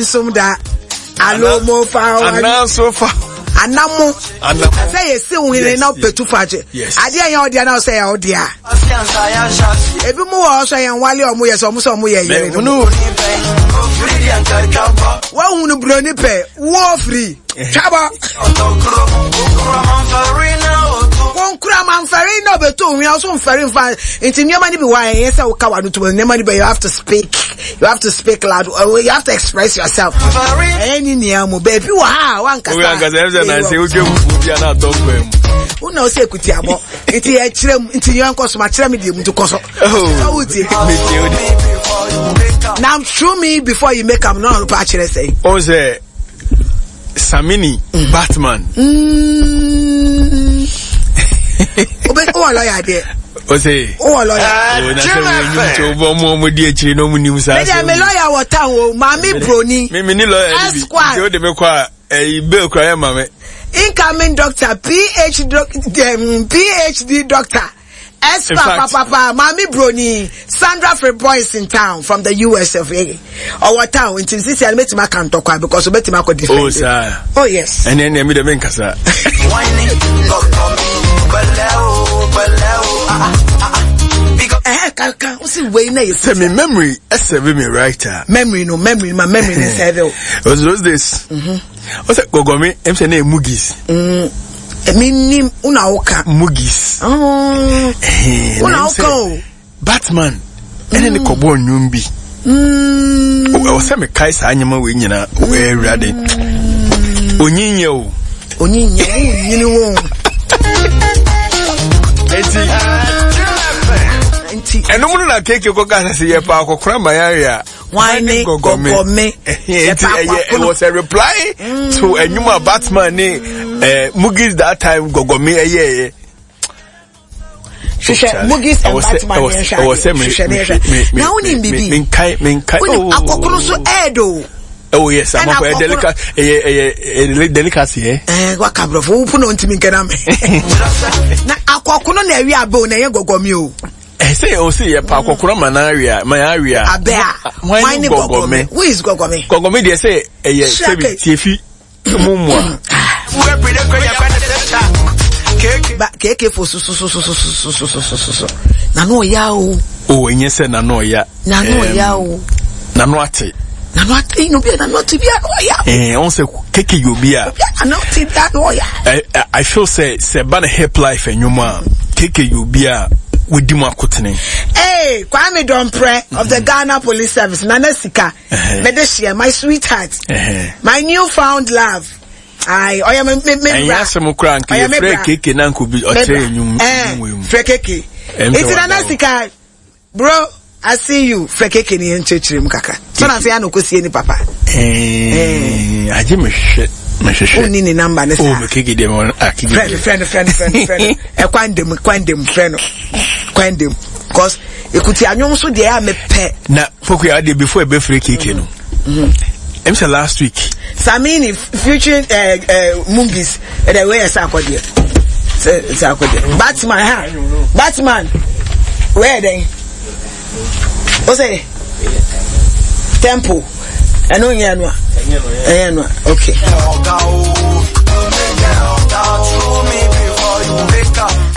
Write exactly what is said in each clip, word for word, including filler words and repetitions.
nsom da alo mo fa ananso fa anamo sɛ yɛsi wo hene na wopɛtu fa akye adeɛ yɛ ɔdeɛ na wosɛ yɛ ɔdeɛ a ebi mu wɔ hɔ sɛ yɛn wale ɔmo yɛ sɛ ɔmo sɛ ɔmo yɛ yere no woahunu buroni pɛ wo firi twabɔ wonkura mamfɛre na ɔbɛtu ohwia so mfɛre mfa nti nneɛma no bi wɔ a ɛyɛ sɛ woka wano to nneɛma no bi you have to speak you have to speak loud you have to express yourself ɛyɛ ne nea mu baabi wɔ ha a wankasa wankasa ɛsɛ na sɛ wotwa fufuo bi a na atɔ kwan mu wo na wosɛ ekuti abɔ nti yɛkyerɛ mu nti yɛn kɔ so ma kyerɛ me deɛ mu nti kɔ so sɛ wotie na through me before you make am no ɔrepa akyerɛ sɛ ɔn sɛ Samini mm. Batman. Mm. Obe wɔ lɔya deɛ. O se. Wɔ lɔya. O na sɛ wo enyim tí o bɔ ɔmo ɔmo di akyire na ɔmo nim saa. Mi deɛ mi lɔya wɔ town o maame broni. Mi mi ni lɔya ni bi nti o de mi kɔ a ɛyi bail kura yɛ ma mi. Incoming doctor P H doc, um, P H D doctor. Espa papa papa Mami Broni Sandra Freboy is in town from the U S of A. Ɔwɔ town nti sisi a metumi aka ntɔkwa because obetumi akɔ defend. Oh sir. Oh yes. Ɛnɛ ɛnɛ mi de mi nkasa. Ɛhɛ kankan o si wei na yɛ. Sɛ mi memory ɛsɛ mi right a. Memory no memory ma memory ni sɛ o. It was those days. O sɛ Gɔgɔmi ɛm sɛ ne yɛ Mugis. Mm. Mi nim una woka. Mugis. Una woka o. Batman ɛne ne kɔbɔ nnwom bi. Ɛwɔ sɛ mekae saa nneɛma wei nyinaa Awurade onyinyɛ o. Onyinyɛ wonyini wo. Eti nti ɛnum no na keke kɔka sɛ sɛ yɛpa akɔkora ma yɛawe a wan ne Gɔgɔme? Nti ɛyɛ it was a reply to ɛnwom a Batman ne eh, Mugis that time Gɔgɔme ɛyɛɛyɛ. Hwehwɛ Mugis and Batman yɛn hwɛ ɛwɔ sɛ adeɛ hwehwɛ ne hwɛ na wonim bibi menkae menkae. Wonim akɔkono so ɛɛdo. Oh yes, Ɛna amafo ɛyɛ akɔkono- delicacy, ɛyɛ ɛyɛ ɛyɛ delicacy ɛ. Ɛɛ waka aborɔfo wo na ntumi nkɛna me na akɔkono na ɛwi abɛ o na ɛyɛ Gɔgɔme o. Ɛsɛ ɔsɛ yɛ pa akɔkora ma na awe a ma yɛ awe a. Abɛ a wan ne Gɔgɔme? Who is Gɔgɔme? Gɔgɔme deɛ sɛ ɛyɛ Sure, sɛbi okay. tiefi mu mu a. Ba keke fo sososososososososo na no ɔya o. O ɛnyɛ sɛ nano ɔya. Na no ɔya o. Nano ate. Na no ate no bi na no ate bi a no ɔya. Ɛɛ ɔn sɛ keke yɛ obi a. Bi a na no ate bi a no ɔya. I, I- I feel sɛ sɛ ba na hip life ɛnwom a keke yɛ obi a wodi mu akotene. Hey, Kwame Dompre of the Ghana Police Service, Nana Sika, Uh-huh. Medeshia, my sweetheart, Ɛhɛn. my newfound love. Aye, oh yeah, me me me Ɛnyɛ bra. asɛm koraa nka Ɔyɛ me yɛfrɛ bra. keke na nka obi Me ɔkyerɛ bra. ɛnwom Eh, ɛnwom wei mu. frɛ keke. Ɛm sɛ Enti Nana wada wo. Sika, bro, I see you. Frɛ keke ni nkyerɛkyerɛ mu kakra. So na sɛ ya no kɔsie ni papa. Ɛɛ, agye mehwehwɛ mehwehwɛ. Wonni ne number ne O saa. me keke deɛ mewɔ ah keke Frɛ no, deɛ. frɛ no, frɛ no, frɛ no, frɛ no. Ɛkwan dem, kwan dem, frɛ no. Kwan dem. Cause ekuti anwom so deɛ a mepɛ. Na Pokuya adeɛ before ɛbɛfrɛ keke no. Ɛm sɛ last week. Samini featuring uh, uh, Mungis ɛdɛ wei yɛ sɛ akɔdeɛ sɛ sɛ akɔdeɛ Batman ha Batman wei yɛ dɛn o sɛ tempo ɛno nyɛ no a ɛyɛ no a okay.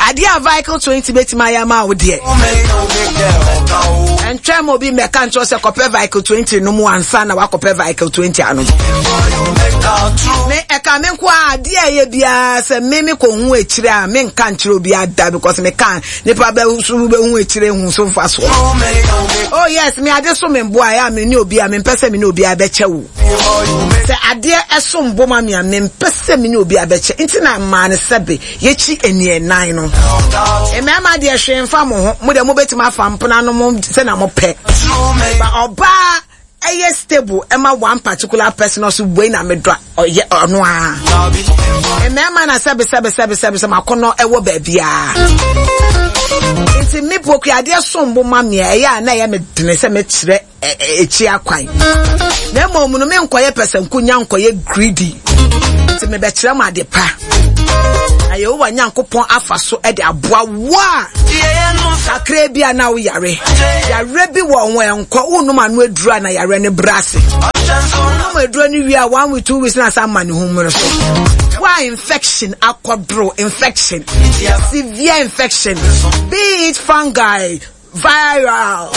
Adeɛ a Vehicle twenty bɛtumi ayɛ ama wo deɛ ɛntwɛn ma obi mmɛka nkyerɛ sɛ kɔpɛ Vehicle twenty no mu ansa na wakɔpɛ Vehicle twenty ano me ɛka me nko a adeɛ a ɛyɛ biara sɛ me me kɔ hu akyire a me nka nkyerɛ obi ada because me ka nipa bɛ so bɛhu akyire hu so mfa soɔ. Oh yes, me ade so me mboa ɛyɛ a me ne obi a me mpɛ sɛ me ne obi a bɛkyɛ wo sɛ adeɛ ɛso mbo ma me a me mpɛ sɛ me ne obi a bɛkyɛ nti na mmaa no sɛbe yɛkyi aniɛnan no mmarima deɛ hwee mfa mo ho mo deɛ mobɛtumi afa mpena no mo sɛ na mo pɛ ba ɔbaa ɛyɛ stable ɛma one particular person ɔso wei na medɔ a ɔyɛ ɔno a mmarima na sɛbe sɛbe sɛbe sɛbe sɛ makɔnɔ ɛwɔ baabiara nti me Poku adeɛ som bo ma me a ɛyɛ a na ɛyɛ me dene sɛ mekyerɛ ɛ- ɛ- ekyi akwan na mmom no menkɔyɛ pɛsɛnkonya nkɔyɛ greedy nti mebɛkyerɛ mo ade pa na Yehowa Nyankopɔn afa so de aboa wo a kakra bi a na woyare yare bi wɔ ho ɛnkɔ wonom ano aduru a na yare no brɛ ase wonom Aduro no wie a, one week, two weeks na asa ma ne ho mu no so. Why infection akɔdoro infection, severe infection, be it fungi, viral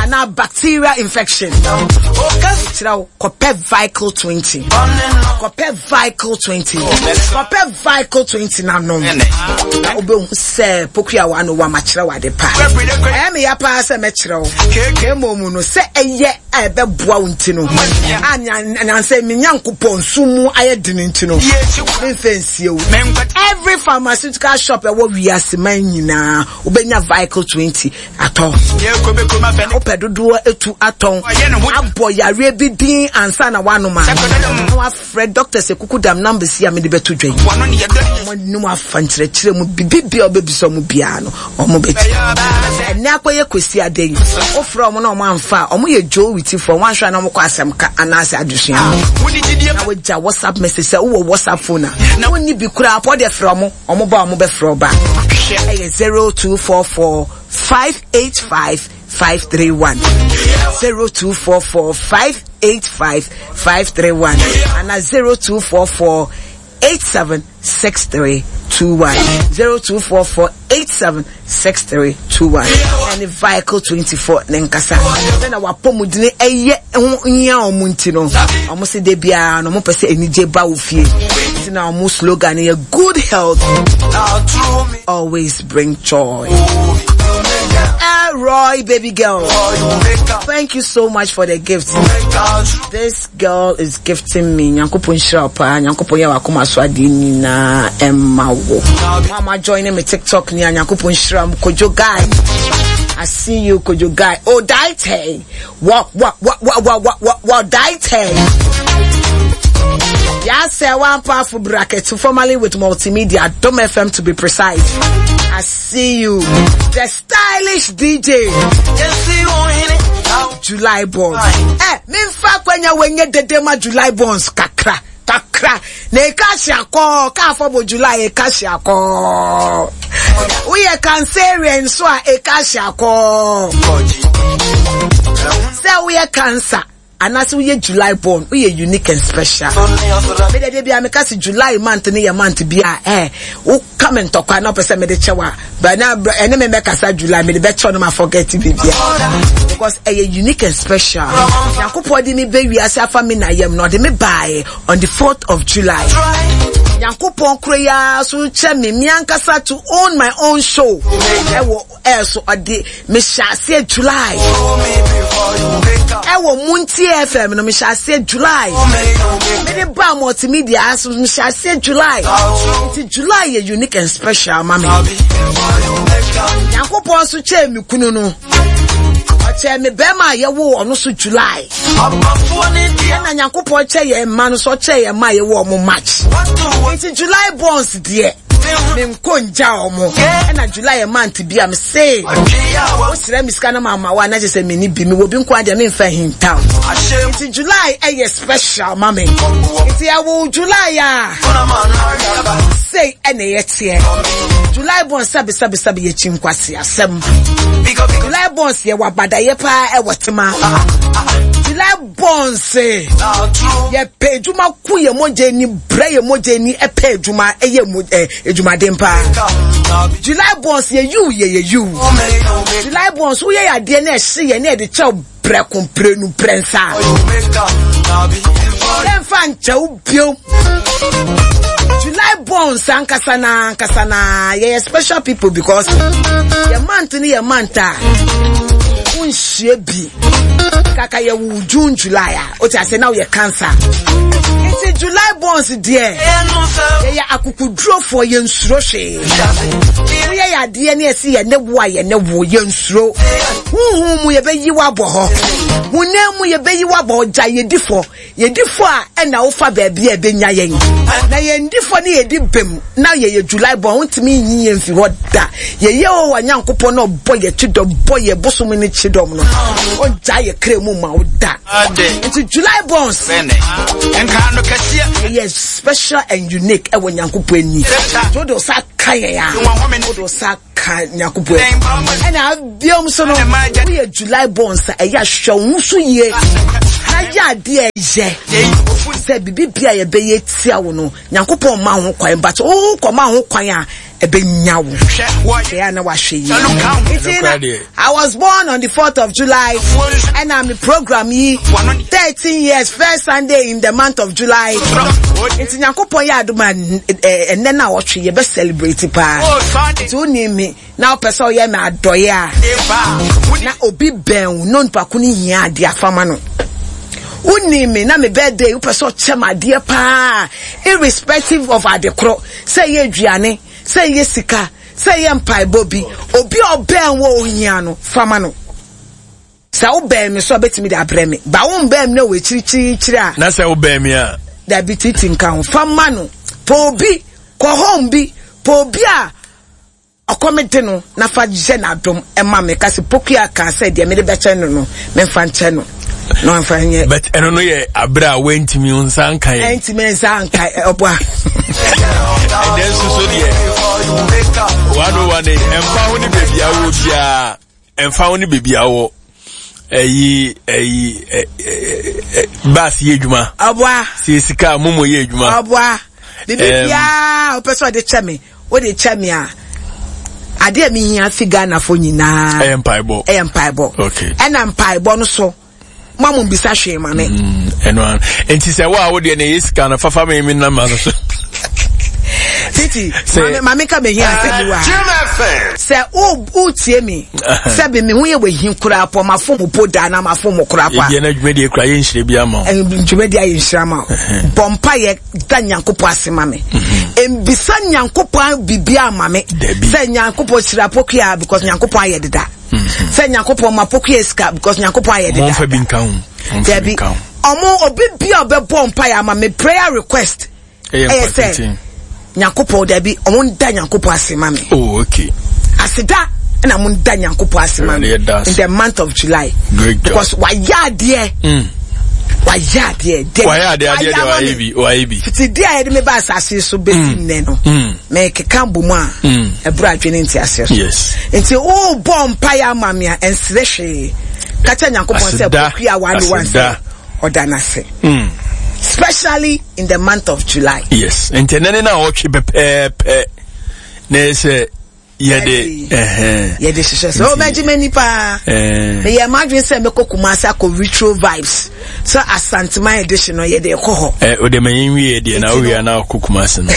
anaa bacterial infection, kyerɛ wo, kɔpɛ Vicle twenty, kɔpɛ Vicle twenty, kɔpɛ Vicle twenty nanom na wobɛhu sɛ pokua wa no wamakyerɛ wo ade pa. Ɛyɛ me ya paa sɛ mɛkyerɛ wo, na mmom no sɛ ɛyɛ a ɛbɛboa wo nti no a nyansɛ me Nyankopɔn nsu mu ayɛ dene nti no memfɛ nsie wo. Every pharmaceutical shop ɛwɔ wiase man nyinaa, wobɛnya Vicle twenty atɔ. Wopɛ dodoɔ etu atɔn abɔ yareɛ bi din ansa na wanom a, na wafrɛ doctors ekuku dam numbers yi a mede bɛto dwa yi. Ɔmo ne mu afa nkyerɛkyerɛ mu bibi bia ɔbɛbisa ɔmo biara no, ɔmo bɛti. Ɛnɛ akɔyɛ kwesi ade yi, wofrɛ ɔmo na ɔmo amfa a, ɔmo yɛ Joe Witifoɔ. Wɔn ahwɛ na ɔmo kɔ asɛm ka anaasɛ adesua na wagya WhatsApp message. Sɛ wowɔ WhatsApp phone a, wonni bi koraa pɔ deɛ, frɛ ɔmo. Ɔmo ba, ɔmo bɛfrɛ ɔba. Ɛyɛ zero two four four five eight five five three one, zero two four four five eight five five three one, ana zero two four four eight seven six three two one, zero two four four eight seven six three two one. Ɛne Vehicle twenty four ne nkasa sɛna wapɔmudene ɛyɛ ho nyia ɔmo nti no, ɔmo se de biara no ɔmo pɛ sɛ anigye ba wo fie nti na ɔmo slogan yɛ "Good health always bring joy." Roy, baby girl, thank you so much for the gift. This girl is gifting me. Nyankopɔn nhyira wo paa. Nyankopɔn yɛ wakoma so adeɛ nyinaa ɛmma wo. Mama joining me TikTok ni a, Nyankopɔn nhyira mo. Kojo guy, I see you, Kojo guy. Oh, daite. What what what what what what what what daite. Yes, one powerful bracket, formerly with Multimedia, Dom F M to be precise. I see you. The stylish D J. July born. Eh, memfa kwanya wenye dede ma July borns kakra. Kakra. Na eka hye akɔ, ka afɔ bɔ July eka hye akɔ. Woyɛ Cancerian so a, eka hye akɔ. Sɛ woyɛ Cancer anaasɛ woyɛ July born, woyɛ unique and special. Mede de bia meka sɛ July month ne yɛ month bi a eh woka me ntɔkwa na wopɛ sɛ mede kyɛw a, but na ɛne me mɛkasa July, mede bɛkyɛw no ma forget bibia, because ɛyɛ unique and special. Nyankopɔn de me bɛ wiase afa me na yam na ɔde me baeɛ on the fourth of July. Nyankopɔn koro yi ara so kyɛ me me ankasa to own my own show ɛwɔ ɛɛ so. Ɔde mehyɛ aseɛ July ɛwɔ Muntie F M no, mehyɛ aseɛ July. Mede ba Multimedia so, mehyɛ aseɛ July. Nti July yɛ unique and special ma me. Nyankopɔn nso kyɛɛ me kunu no, ɔkyɛɛ me bɛrima a yɛwoo ɔno so July, ɛna Nyankopɔn kyɛ yɛn mma no so, ɔkyɛ yɛn mma a yɛwɔ ɔmo March. Nti July borns deɛ, menkɔ ngya ɔmo. Ɛna July yɛ month bi a mese wosrɛ me sika no ma ama wo a, na kyerɛ sɛ menni bi, mewɔ bi nko a deɛ, memfa hintaw. Nti July ɛyɛ special ma me. Nti ɛwo July a, sei ɛna ɛyɛ teɛ. July born, sɛbi sɛbi sɛbi, yɛkyi nkwasi asɛm. July borns yɛ wɔ abadayɛ paa ɛwɔ tema. July borns yɛpɛ adwuma ko, yɛ mogya ni brɛ, yɛ mogya ni ɛpɛ adwuma, ɛyɛ mo ɛ adwumaden paa. July borns yɛ yiw, yɛ yɛ yiw. July borns, woyɛ yɛ adeɛ na ɛhye yɛ na yɛde kyɛw prɛko prɛnu prɛnsa, yɛmfa nkyɛw bio. July borns ankasa na ankasa na yɛyɛ special people, because yɛ month ne yɛ month a wonhyia bi kaka. Yɛwo June, July a, wote ase na woyɛ Cancer. Nti July borns deɛ, yɛyɛ akokodurofoɔ, yɛnsuro hwee. Woyɛ yɛ adeɛ ne ɛsi yɛ ne wo a, yɛ ne wo, yɛnsuro. Huhu mu yɛbɛyi wo abɔ hɔ, honam mu yɛbɛyi wo abɔ hɔ. Gya yɛdi fɔ, yɛdi fɔ a, ɛna wofa baabi a ɛbɛnya yɛn na yɛndi fɔ ne yɛdi bem na yɛyɛ July born, wontumi nyi yɛn fi hɔ da. Yɛyɛ wɔ wɔ Nyankopɔn na ɔbɔ yɛ kyidɔm, bɔ yɛ bosom ne kyidɔm no, ɔgya yɛ kra mu ma wo da. Nti July borns ɛyɛ special and unique ɛwɔ Nyankopɔn ani. Nti wode wo sa ka yɛn a, wode wo sa ka Nyankopɔn ani. Ɛna abiom so no, woyɛ July borns a, ɛyɛ ahwɛ wo ho so yie. Na Na yɛ adeɛ yɛ sɛ biribi bia yɛbɛyɛ tia wo no, Nyankopɔn ma ho kwan, but wo kɔma ho kwan a ɛbɛnya wo. Ɛyɛ na wahwɛ yie. Nti na I was born on the fourth of July, ɛna me program yi thirteen years, first Sunday in the month of July. Nti Nyankopɔn yɛ adom a ɛnɛ na ɔtwe yɛbɛ celebrate paa. Nti wonim me na wopɛ sɛ ɔyɛ me adɔeɛ a, na obi bɛn wo na onipa ko no hia adeɛ afama no. Wonim me na me birthday wopɛ sɛ ɔkyɛ me adeɛ paa, irrespective of ade korɔ, sɛ ɛyɛ aduane, sɛ ɛyɛ sika, sɛ ɛyɛ mpaebɔ bi, obi a ɔbɛn wo ohia no, fama no. Sɛ wobɛn me so a, bɛtumi de abrɛ me. Ba wo mbɛn me na wɔ akyirikyirikyiri a. Na sɛ wobɛn me a. Dabi titi nka ho. Fama no. Pɛ obi, kɔ home bi, pɛ obi a ɔkɔm de no na fa yɛ n'adom ɛma me. Kasi Pokuya ka sɛ deɛ mede bɛkyɛ no no, memfa nkyɛ no. Na ɔmfa nyɛ. But ɛno no yɛ abere a wantumi nsa nka yɛ. Ɛntumi nsa nka ɔboa. Ɛdɛ nso so deɛ one oh one ɛmfa ho ne baabi a wɔ biara, ɛmfa ho ne baabi a wɔ, ɛyi ɛyi ɛ baasi yɛ adwuma. Ɔboa. Sɛ sika momo yɛ adwuma. Ɔboa. Bibi biara ɔpɛ sɛ ɔde kyɛ me, wode kyɛ me a, adeɛ a mehia fi Ghanafoɔ nyinaa ɛyɛ mpaebɔ. Ɛyɛ mpaebɔ. Okay. Ɛna mpaebɔ no so ma mo mbisa hwee ma me. Ɛno ano. Nti sɛ wo a wo deɛ na ɛyɛ sika no fafa me me nam ano so. Titi, maame maame ka mehia asɛm bi wa. Sɛ wo wo tie mi, sɛ bi me ho yɛ wɔ hi koraa pɔ, ma fo mo po da na ma fo mo koraa pɔ. Ebi na dwumadie kura yɛ nhyira bi ama wo. Dwumadie ayɛ nhyira ma wo. Bɔ mpa yɛ da Nyankopɔn ase ma me. Mbisa Nyankopɔn biribi ama me. Sɛ Nyankopɔn hyira Pokuya because Nyankopɔn ayɛ deda. Sɛ Nyankopɔn ma Pokuya sika because Nyankopɔn ayɛ deda. Mɔmfa bi nka ho. Dabi. Ɔmo obi bi a ɔbɛbɔ mpa yɛ ama me prayer request. Ɛyɛ sɛ Nyankopɔn dabi ɔmo nda Nyankopɔn ase ma me. Oh, okay. Aseda na mo nda Nyankopɔn ase ma me in the month of July. Great job. Because wayɛ adeɛ. Mm. Wayɛ adeɛ. Wayɛ adeɛ adeɛ deɛ wayɛ bi wayɛ bi. Fiti di a yɛde me ba asase so besi nnɛ no. Mɛ keka bɔ mu a. Ɛboro adwene nti aseɛ so. Yes. Nti o bɔ mpa yɛ ama me a ɛnsrɛ hwee. Kakyɛ Nyankopɔn sɛ Pokuya one one sɛ ɔda n'ase. Especially in the month of July. Yes. Nti ɛnɛ ne na ɔtwe pɛpɛɛpɛ na ɛsɛ yɛde ɛhɛn. Yɛde hyehyɛ sɛ ɔbɛgye m'ani paa. Meyɛ m'adwene sɛ mɛkɔ Kumasi akɔ Retro Vibes sɛ Asanteman edition no yɛde kɔ hɔ. Ɛ o de ma yɛn wie deɛ na owie na akɔ Kumasi no.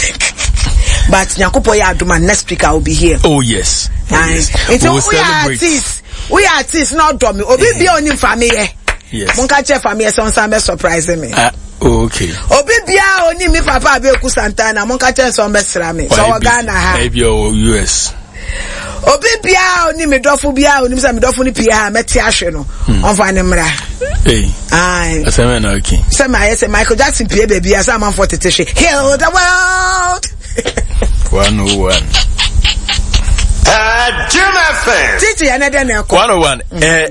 But Nyankopɔn yɛ adom a next week I will be here. Oh yes. Oh, yes. Nti woyɛ artist, woyɛ artist na ɔdɔ mi, obi bia onim fa mi yɛ. Yes. Monka kyerɛ fa mi yɛ sɛ ɔnsan bɛ surprise me. Ah. Oh, okay. Obi bia oni mi papa Abeku Santana monka kyerɛ sɛ ɔmbɛsra me. Sɛ ɔwɔ Ghana ha. Ebi ɔwɔ U S. Obi bia oni mi dɔfo bia onim sɛ mi dɔfo no pie ha mɛte ahwe no. Ɔmfa ne mmra. Hey. Aye. Asɛm na okay. Sɛ ma ayɛ sɛ Michael Jackson pie baabi a sɛ amanfoɔ tete hwe. Heal the world. one oh one. Uh, Jim F M. Titi ɛnɛ dɛ na ɛkɔ. one oh one. Eh,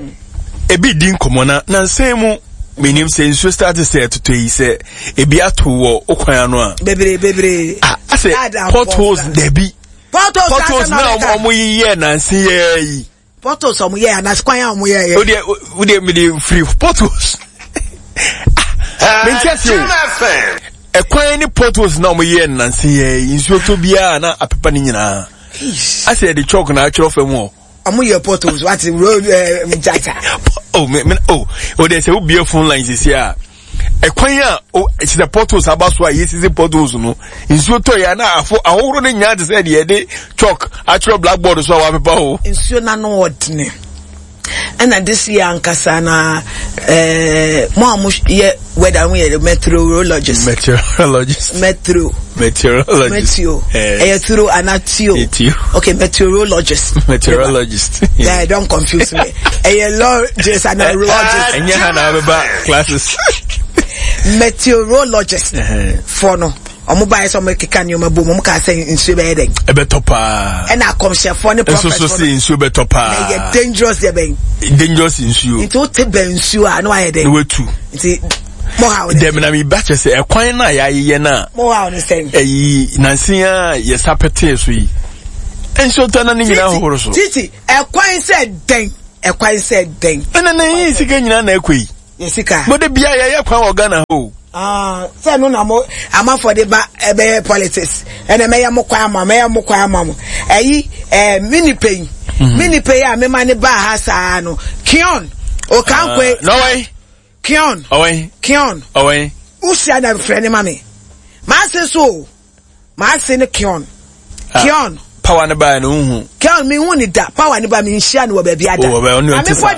ebi di nkɔmɔ na na nsɛn mu menim sɛ nsuo start sɛ ɛtotɔ yi sɛ ebi ato wɔ okwan ano a. Bebree bebree. Ah, asɛ potholes dabi. Potholes potholes na ɔmo yiyɛ nansi yɛ yi. Potholes ɔmo yɛ anase kwan a ɔmo yɛ yɛ. O deɛ o deɛ mi de firi potholes. Mɛ n ti ase o. Ɛkwan ne potholes na ɔmo yɛ nansi yɛ yi, nsuo tɔ biara na apepa ne nyinaa. Asɛ yɛde chalk na atwerɛ fam hɔ. Ɔmo yɛ potholes wate road ɛɛ jaja. Oh me me oh o de sɛ o bie phone line sisi a ɛkwan a o sisɛ potholes aba so a yɛsisi potholes no nsuo tɔ yɛ na afo ahohoro ne nyinaa te sɛ deɛ yɛde chalk atwerɛ blackboard so a wapepa o. Nsuo n'ano ɔdene ɛna this year ankasa na ɛɛ mo a mo yɛ weather mo yɛ meteorologist. Meteorologist. Meteo. Meteorologist. Meteo. Ɛyɛ turo ana tio. Tio. Okay, meteorologist. Meteorologist. Yeah, don't confuse me. Ɛyɛ logist ana rologist. Ɛnyɛ ha na abɛba classes. Meteorologist. For no. Ɔmo ba yɛ sɛ ɔmo keka nneɛma bom, ɔmo kaa sɛ nsuo bɛyɛ dɛ. Ɛbɛtɔ paa. Ɛna akɔmhyɛfoɔ ne prophet. Nso so si nsuo bɛtɔ paa. Na ɛyɛ dangerous deɛ bɛn. Dangerous nsuo. Nti wote bɛn nsuo a na wayɛ dɛ. Na watu. Nti mo ha wo ne. Dɛm na mi ba kyɛ sɛ ɛkwan na yɛayeyɛ na. Mo ha wo ne sɛn. Ɛyi nansi a yɛsa pɛtee so yi. Nsuo tɔ na ne nyinaa hohoro so. Titi ɛkwan sɛ dɛn, ɛkwan sɛ dɛn. Ɛna na yɛn sika nyinaa na ɛkɔ yi. Yɛ sika. Mo de bia yɛyɛ kwan wɔ Ghana hɔ. Ah, sɛ no na mo amanfoɔ de ba ɛbɛyɛ politics ɛna mɛyɛ mo kwan ama mɛyɛ mo kwan ama mo ɛyi ɛɛ mi nipa yi mi nipa yi a mi ma ne ba ha saa no Kion Okankwe. Nɔwɛn. Kion. Ɔwɛn. Kion. Ɔwɛn. Usia na frɛ ne ma mi maa se so o maa se ne Kion. Kion. Power ne ba no hu. Kion mi hu ni da power ne ba mi nhyia no wɔ baabi ada. Oh, ɔne ɔte sa.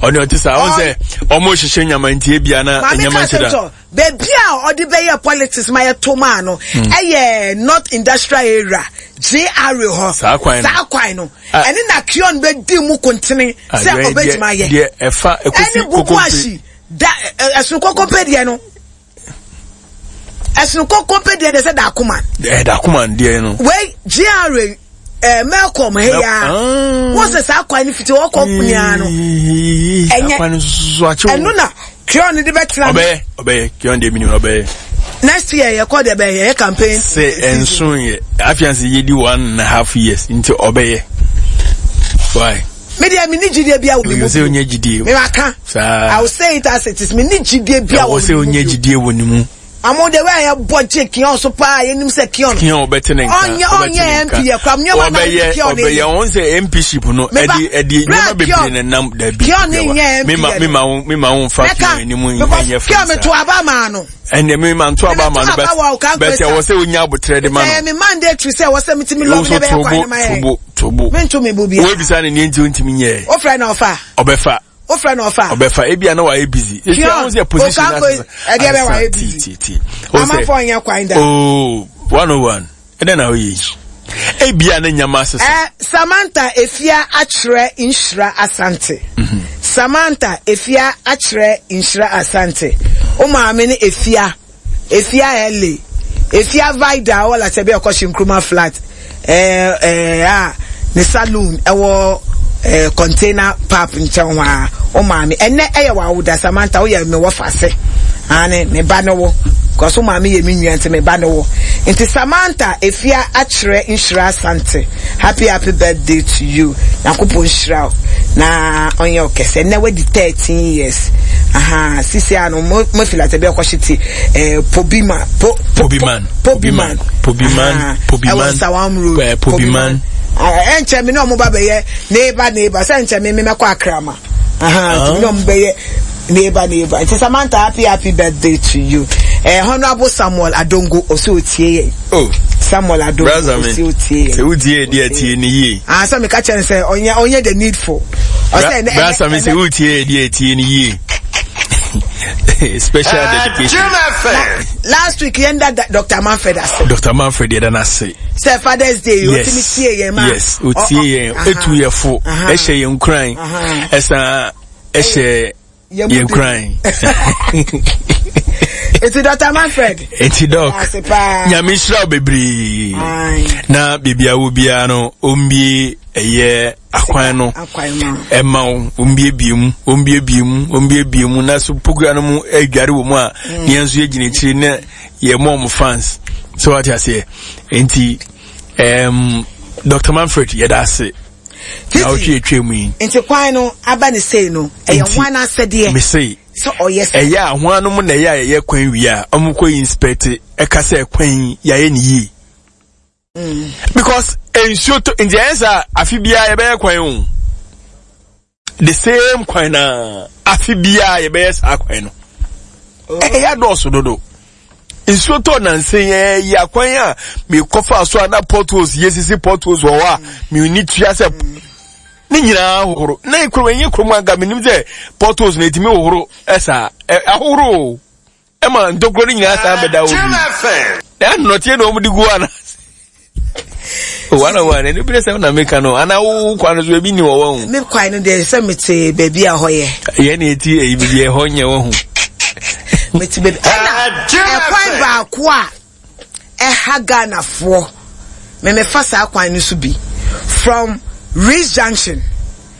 Ɔne ɔte sa. Ɔn sɛ ɔmo hyehyɛ nyama nti ebia na nyama nhyɛ da. Baabi a ɔde bɛyɛ politics ma yɛ to maa no ɛyɛ North Industrial Area G R A hɔ. Saa kwan no. Saa kwan no. Ɛne na Kion bɛ di mu kontene sɛ ɔbɛtumi ayɛ. Deɛ ɛfa ekosi kokompe. Ɛne Bubuashi da ɛsono kokompe deɛ no. Ɛsono kokompe deɛ deɛ sɛ Dakoman. Ɛɛ Dakoman deɛ no. Wei G R A ɛɛ Melcom he ya. Wọ́n sɛ saa kwan no fiti ɔkɔ nyinaa no. Ɛnyɛ ɛno na Kion de bɛ tena. Ɔbɛyɛ ɔbɛyɛ Kion de mi ni ɔbɛyɛ. Next year yɛ kɔ de bɛ yɛ campaign. Sɛ ɛnso yɛ afiansi yɛ di one and a half years nti ɔbɛyɛ. Why? Me deɛ mi ni jidie bia wɔ mi mu. Sɛ onye jidie. Mi ma ka. Saa. I will say it as it is. Mi ni jidie bia wɔ mi mu. Sɛ onye jidie wɔ ne mu. Amo de wɛ yɛ bɔ gye Kion so paa yɛ nim sɛ Kion. Kion ɔbɛte ne nka. Ɔnyɛ ɔnyɛ M P yɛ kura nneɛma na Kion ne. Ɔbɛyɛ ɔn sɛ M P ship no ɛdi ɛdi nneɛma bebree na nam dabi. Kion ne nyɛ M P yɛ. Mi ma wo mi ma wo nfa Kion anim nyɛ fɛn sa. Kion mi to aba maa no. Ɛnna mi ma nto aba maa no bɛ bɛtɛ wɔ sɛ onya abotire de ma no. Ɛɛ mi mandatory sɛ wɔ sɛ mi ti mi lɔbi ne bɛ yɛ kwan ne ma yɛ. Tobo tobo. Mi nto mi bo bia. Wo ebisa ne ne nti o ntumi nyɛ. O fɛ na ɔfa. Ɔbɛfa. O fɛ na ɔfa. Ɔbɛfa ebi a na wayɛ busy. Kion Okanko ɛdeɛ bɛ wayɛ busy. Amanfoɔ nyɛ kwan da. Oh, one oh one. Ɛdɛ na oyi. Ebi a ne nyama asesa. Eh, Samantha Efia akyerɛ Nhyira Asante. Mm-hmm. Samantha Efia akyerɛ Nhyira Asante. O maame ne Efia. Efia L A. Efia Vida wɔ Lasɛbi ɔkɔhye Nkrumah flat. Eh, eh, ah, ne saloon ɛwɔ eh, container pap nkyɛn hɔ a. O maame ɛnɛ ɛyɛ w'awoda Samantha woyɛ me wɔ fase. Ane me ba ne wo. Because o maame yɛ me nua nti me ba ne wo. Nti Samantha Efia akyerɛ Nhyira Asante. Happy happy birthday to you. Nyankopɔn nhyira wo. Na ɔnyɛ ɔkɛse. Ɛnɛ wadi thirteen years. Aha, sisi ano mo mo feel at ebi ɔkɔhye ti eh Pobima po Pobiman Pobiman Pobiman Pobiman ɛwɔ Sawam Road Pobiman. Ɛnkyɛ me na ɔmo ba bɛyɛ neighbor neighbor sɛ nkyɛ me me mɛkɔ Akrama. Aha, nti me na ɔmo bɛyɛ neighbor neighbor. Nti Samantha happy happy birthday to you. Eh, Honorable Samuel Adongo osi otie yɛ. Oh. Samuel Adongo osi otie yɛ. Sɛ wotie di atie ne yie. Ah, sɛ meka kyerɛ no sɛ ɔnyɛ ɔnyɛ the needful. Ɔsɛ ɛnɛ Brasa me sɛ wotie di atie ne yie. Special dedication. Last week yɛn da Doctor Manfred ase. Doctor Manfred yɛ da n'ase. Sɛ Father's Day yes. Otimi tie yɛn ma. Yes, otie yɛn etu yɛ fo ɛhyɛ yɛn nkuran ɛsan ɛhyɛ yɛn nkuran. Eti Doctor Manfred. Eti Doc. Nyame nhyira wo bebree. Na biribi a wo biara no ombie ɛyɛ akwan no ɛma wo ombiebie mu ombiebie mu ombiebie mu na so pokua no mu adware wɔ mu a ne yɛn nso yɛgyina akyiri na yɛ mɔ mo fans so wate aseɛ nti um, Doctor Manfred yɛda ase na wotwe atwa mu yi nti kwan no aba ne sei no ɛyɛ hwan asɛdeɛ mesei sɛ ɔyɛ sɛ ɛyɛ a hwan no mu na ɛyɛ a yɛyɛ kwan wie a ɔmo inspect ɛka sɛ kwan yi yɛayɛ ne yie. Mm. Because nsuo to nti ɛyɛ sɛ afi biara yɛbɛyɛ kwan o the same kwan na afi biara yɛbɛyɛ saa kwan no ɛyɛ adɔɔso dodo nsuo tɔ nansa yɛ yɛ akwan a mekɔfa so a na potholes yɛsisi potholes wɔ hɔ a meni tua sɛ ne nyinaa hohoro na kurom ɛnyɛ kurom anka menim sɛ potholes na ɛtumi hohoro ɛsaa ahohoro o ɛma ntokuro no nyinaa san bɛda hɔ bi na nnɔteɛ na wɔn de gu ana one one ɛno bi sɛ na meka no ana wo kwan no so ebi ni wɔ wɔn. Me kwan no deɛ sɛ mete baabi a hɔ yɛ. Yɛn na eti eyi baabi a ɛhɔ nyɛ wɔn ho. Mete baabi ɛna ɛkwan baako a ɛha Ghanafoɔ mɛmɛfa saa kwan no so bi from Reece Junction.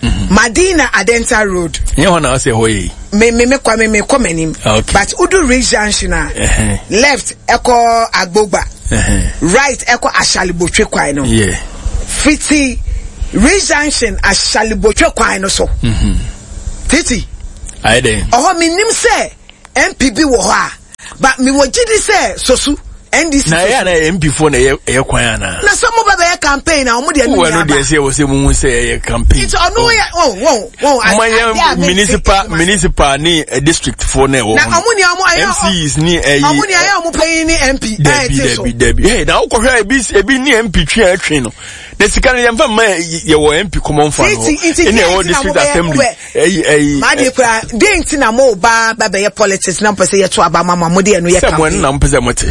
Mm-hmm. Madina Adenta Road. Nye hɔ na ɔsɛ hɔ yi. Me me me kwa me me kɔ m'anim. Okay. But udu Reece Junction a. Uh-huh. Left ɛkɔ Agbogba. Uh-huh. Right ɛkɔ Ashalibotwe kwan no. Yeah. Fiti Reece Junction Ashalibotwe kwan no so. Mm-hmm. Titi. Ayɛ dɛn? Ɔhɔ menim sɛ M P bi wɔ hɔ a, but mewɔ gyidi sɛ Sosu N D C. Na ɛyɛ na M P foɔ na ɛyɛ ɛyɛ kwan ana? Na sɛ mo ba bɛyɛ campaign na ɔmo deɛ no nyɛ aba. Wɔn deɛ sɛ ɛwɔ sɛ mo hu sɛ ɛyɛ campaign. Nti ɔno yɛ wɔn wɔn wɔn. Mo yɛ municipal municipal ne district foɔ na ɛwɔ. Na ɔmo ni ɔmo ayɛ M Cs ni ɛyi. Ɔmo ni ayɛ ɔmo panyin ni M P. Dabi dabi dabi. Hey na ɔkɔhwɛ ebi ebi ni M P twi a ɛtwi no. Na sika no yɛmfa mma yɛwɔ M P common fund hɔ. Ɛna ɛwɔ district assembly. Ɛyi ɛyi. Maa de kura den ti na mo ba ba bɛyɛ politics na mo pɛ sɛ yɛto aba ma mo de ɛno yɛ campaign. Sɛ mo ɛno na mo pɛ sɛ mo te.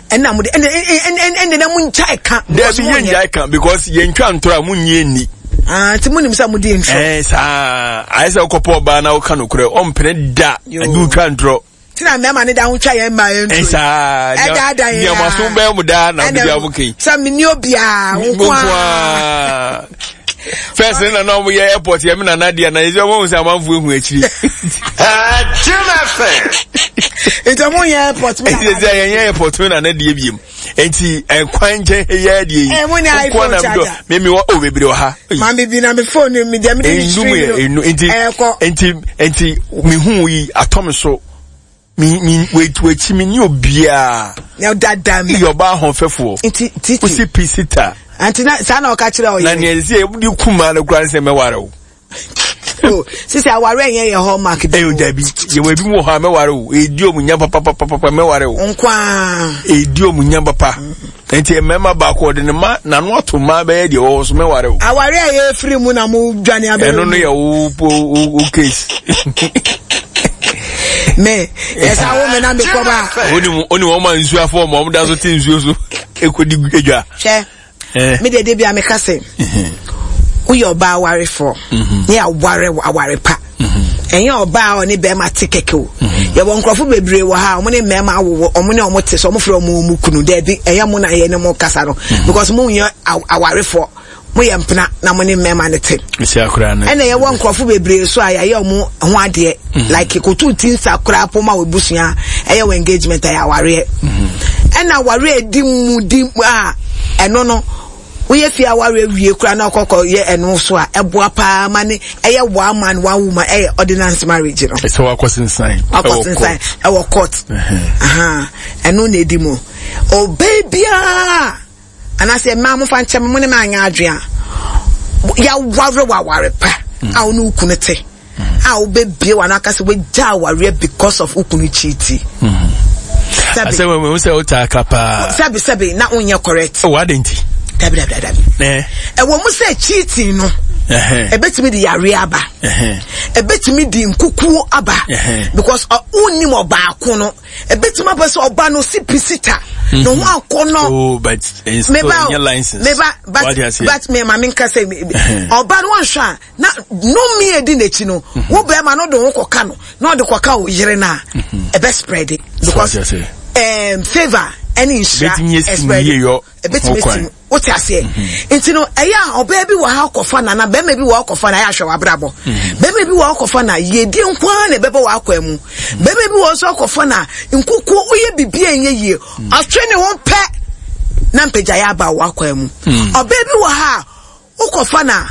Ɛna mo de ɛna ɛna ɛna na mo ngya ɛka. Dɛbi yɛn ngya ɛka because yɛn twa ntora mo nyi ɛni. Ah, nti mo nim sɛ mo di ntorɔ. Ɛɛ saa ayɛ sɛ ɔkɔpɔ ɔbaa na ɔka nokorɛ ɔmpene da ɛdi otwa ntorɔ. Tina mmarima ne da ho twa yɛn mmaa yɛn nturo. Ɛsaa ɛda da yɛn nneɛma so bɛn mu daa na ɔde bi abo kɛyi. Sɛ mi ni obiara nkoa. First ne nana ɔmo yɛ airport yɛ mi nana deɛ na yɛ ɔmo sɛ amanfo ehu akyiri. Jim F M. Nti ɔmo yɛ airport mi nana deɛ. Nti yɛn yɛ airport mi nana deɛ biem. Nti ɛkwan nkyɛn yɛ deɛ yi. Ɛmu ni iPhone charger. Mi mi wɔ o bebree wɔ ha. Maame bi na mi phone mi deɛ mi de mi tiri no. Enu nti nti nti mi hu yi atɔ mi so. Mi mi w'akyi mi ni obiara. Na dada mi. Yɛ ɔbaa ahoɔfɛfoɔ. Nti titi. Wosi pisita. Nti na saa na ɔka kyerɛ ɔyɛ. Na nea ɛsɛ yɛ de kuma no kura nsɛ mɛware o. Oh, sisi aware nyɛ yɛ hallmark bi. Ɛyɛ dabi yɛ wɔ ebi mu wɔ hɔ a mɛware o. Edi omu nya papapapapa mɛware o. Nkwaa. Edi omu nya papa. Nti mmarima baako ɔde ne ma n'ano ato mmaa bɛyɛ deɛ ɔwɔ so mɛware o. Aware a yɛ firi mu na mo dwane abɛyɛ. Ɛno no yɛ wo wo wo case. Me ɛsɛ awo me na me kɔ ba. Oni oni wɔn ma nsuo afɔ wɔn wɔn da so te nsuo so ekodi edwa. Hwɛ. Me deɛ de bi a meka sɛ woyɛ ɔbaa awarefoɔ ne aware aware pa ɛnyɛ ɔbaa a ɔne bɛrima te kɛkɛ o. Yɛwɔ nkurɔfo bebree wɔ ha a ɔmo ne mmarima awowɔ ɔmo ne ɔmo te so ɔmo frɛ ɔmo ɔmo kunu daabi ɛnyɛ mo na yɛ ne mo kasa no because mo nyɛ awarefoɔ mo yɛ mpena na mo ne mmarima ne te. Ɛna yɛwɔ nkurɔfo bebree so a yɛayɛ ɔmo ho adeɛ like kotu ti nsa koraa po ma wɔ ebusua ɛyɛ wɔ engagement ɛyɛ awareɛ. Ɛna awareɛ edi mu di a ɛno no woyɛ fie awareɛ wie koraa na ɔkɔkɔ yɛ ɛno so a ɛboa paa ma ne ɛyɛ one man one woman ɛyɛ ordinance marriage no. Ɛsɛ wakɔ sensan. Wakɔ sensan ɛwɔ court. Ɛno na edi mu ɔbaa biara anaasɛ mmaa mo fa nkyɛn mo ne maa nyɛ adwene a yɛaware waware pa a wo ne wo kunu te a wobɛbie w'ano aka sɛ wagya awareɛ because of wo kunu cheati. Sɛbi sɛ sɛ wotaa ka paa. Sɛbi sɛbi na wonyɛ correct. Oh, adɛn nti? Dabi dabi dabi. Ɛwɔ mu sɛ cheating no ɛbɛtumi de yareɛ aba. Ɛbɛtumi de nkukuo aba because wonnim ɔbaako no. Ɛbɛtumi aba sɛ ɔba no si pisita. Ne ho akɔ no. Oh, but meba meba but but me ma menka sɛ ɔba no wɔnhwɛ a na nnome edi n'akyi no wo bɛrima no de ho kɔka no na ɔde kɔka wo yere no a ɛbɛ spread because um, favour ɛne nhyira ɛspread ɛbɛtumi esi wote aseɛ nti no ɛyɛ a ɔbaa bi wɔ ha kɔfa na na bɛrima bi wɔ hɔ kɔfa na ɛyɛ ahwɛ w'abrabɔ bɛrima bi wɔ hɔ kɔfa na yiedie nko ara na ɛbɛbɔ w'akwan mu bɛrima bi wɔ hɔ nso kɔfa na nkukuo woyɛ biribi a ɛnyɛ yie ɔtwe ne ho pɛ na mpagyaeɛ aba w'akwan mu ɔbaa bi wɔ ha a wokɔfa na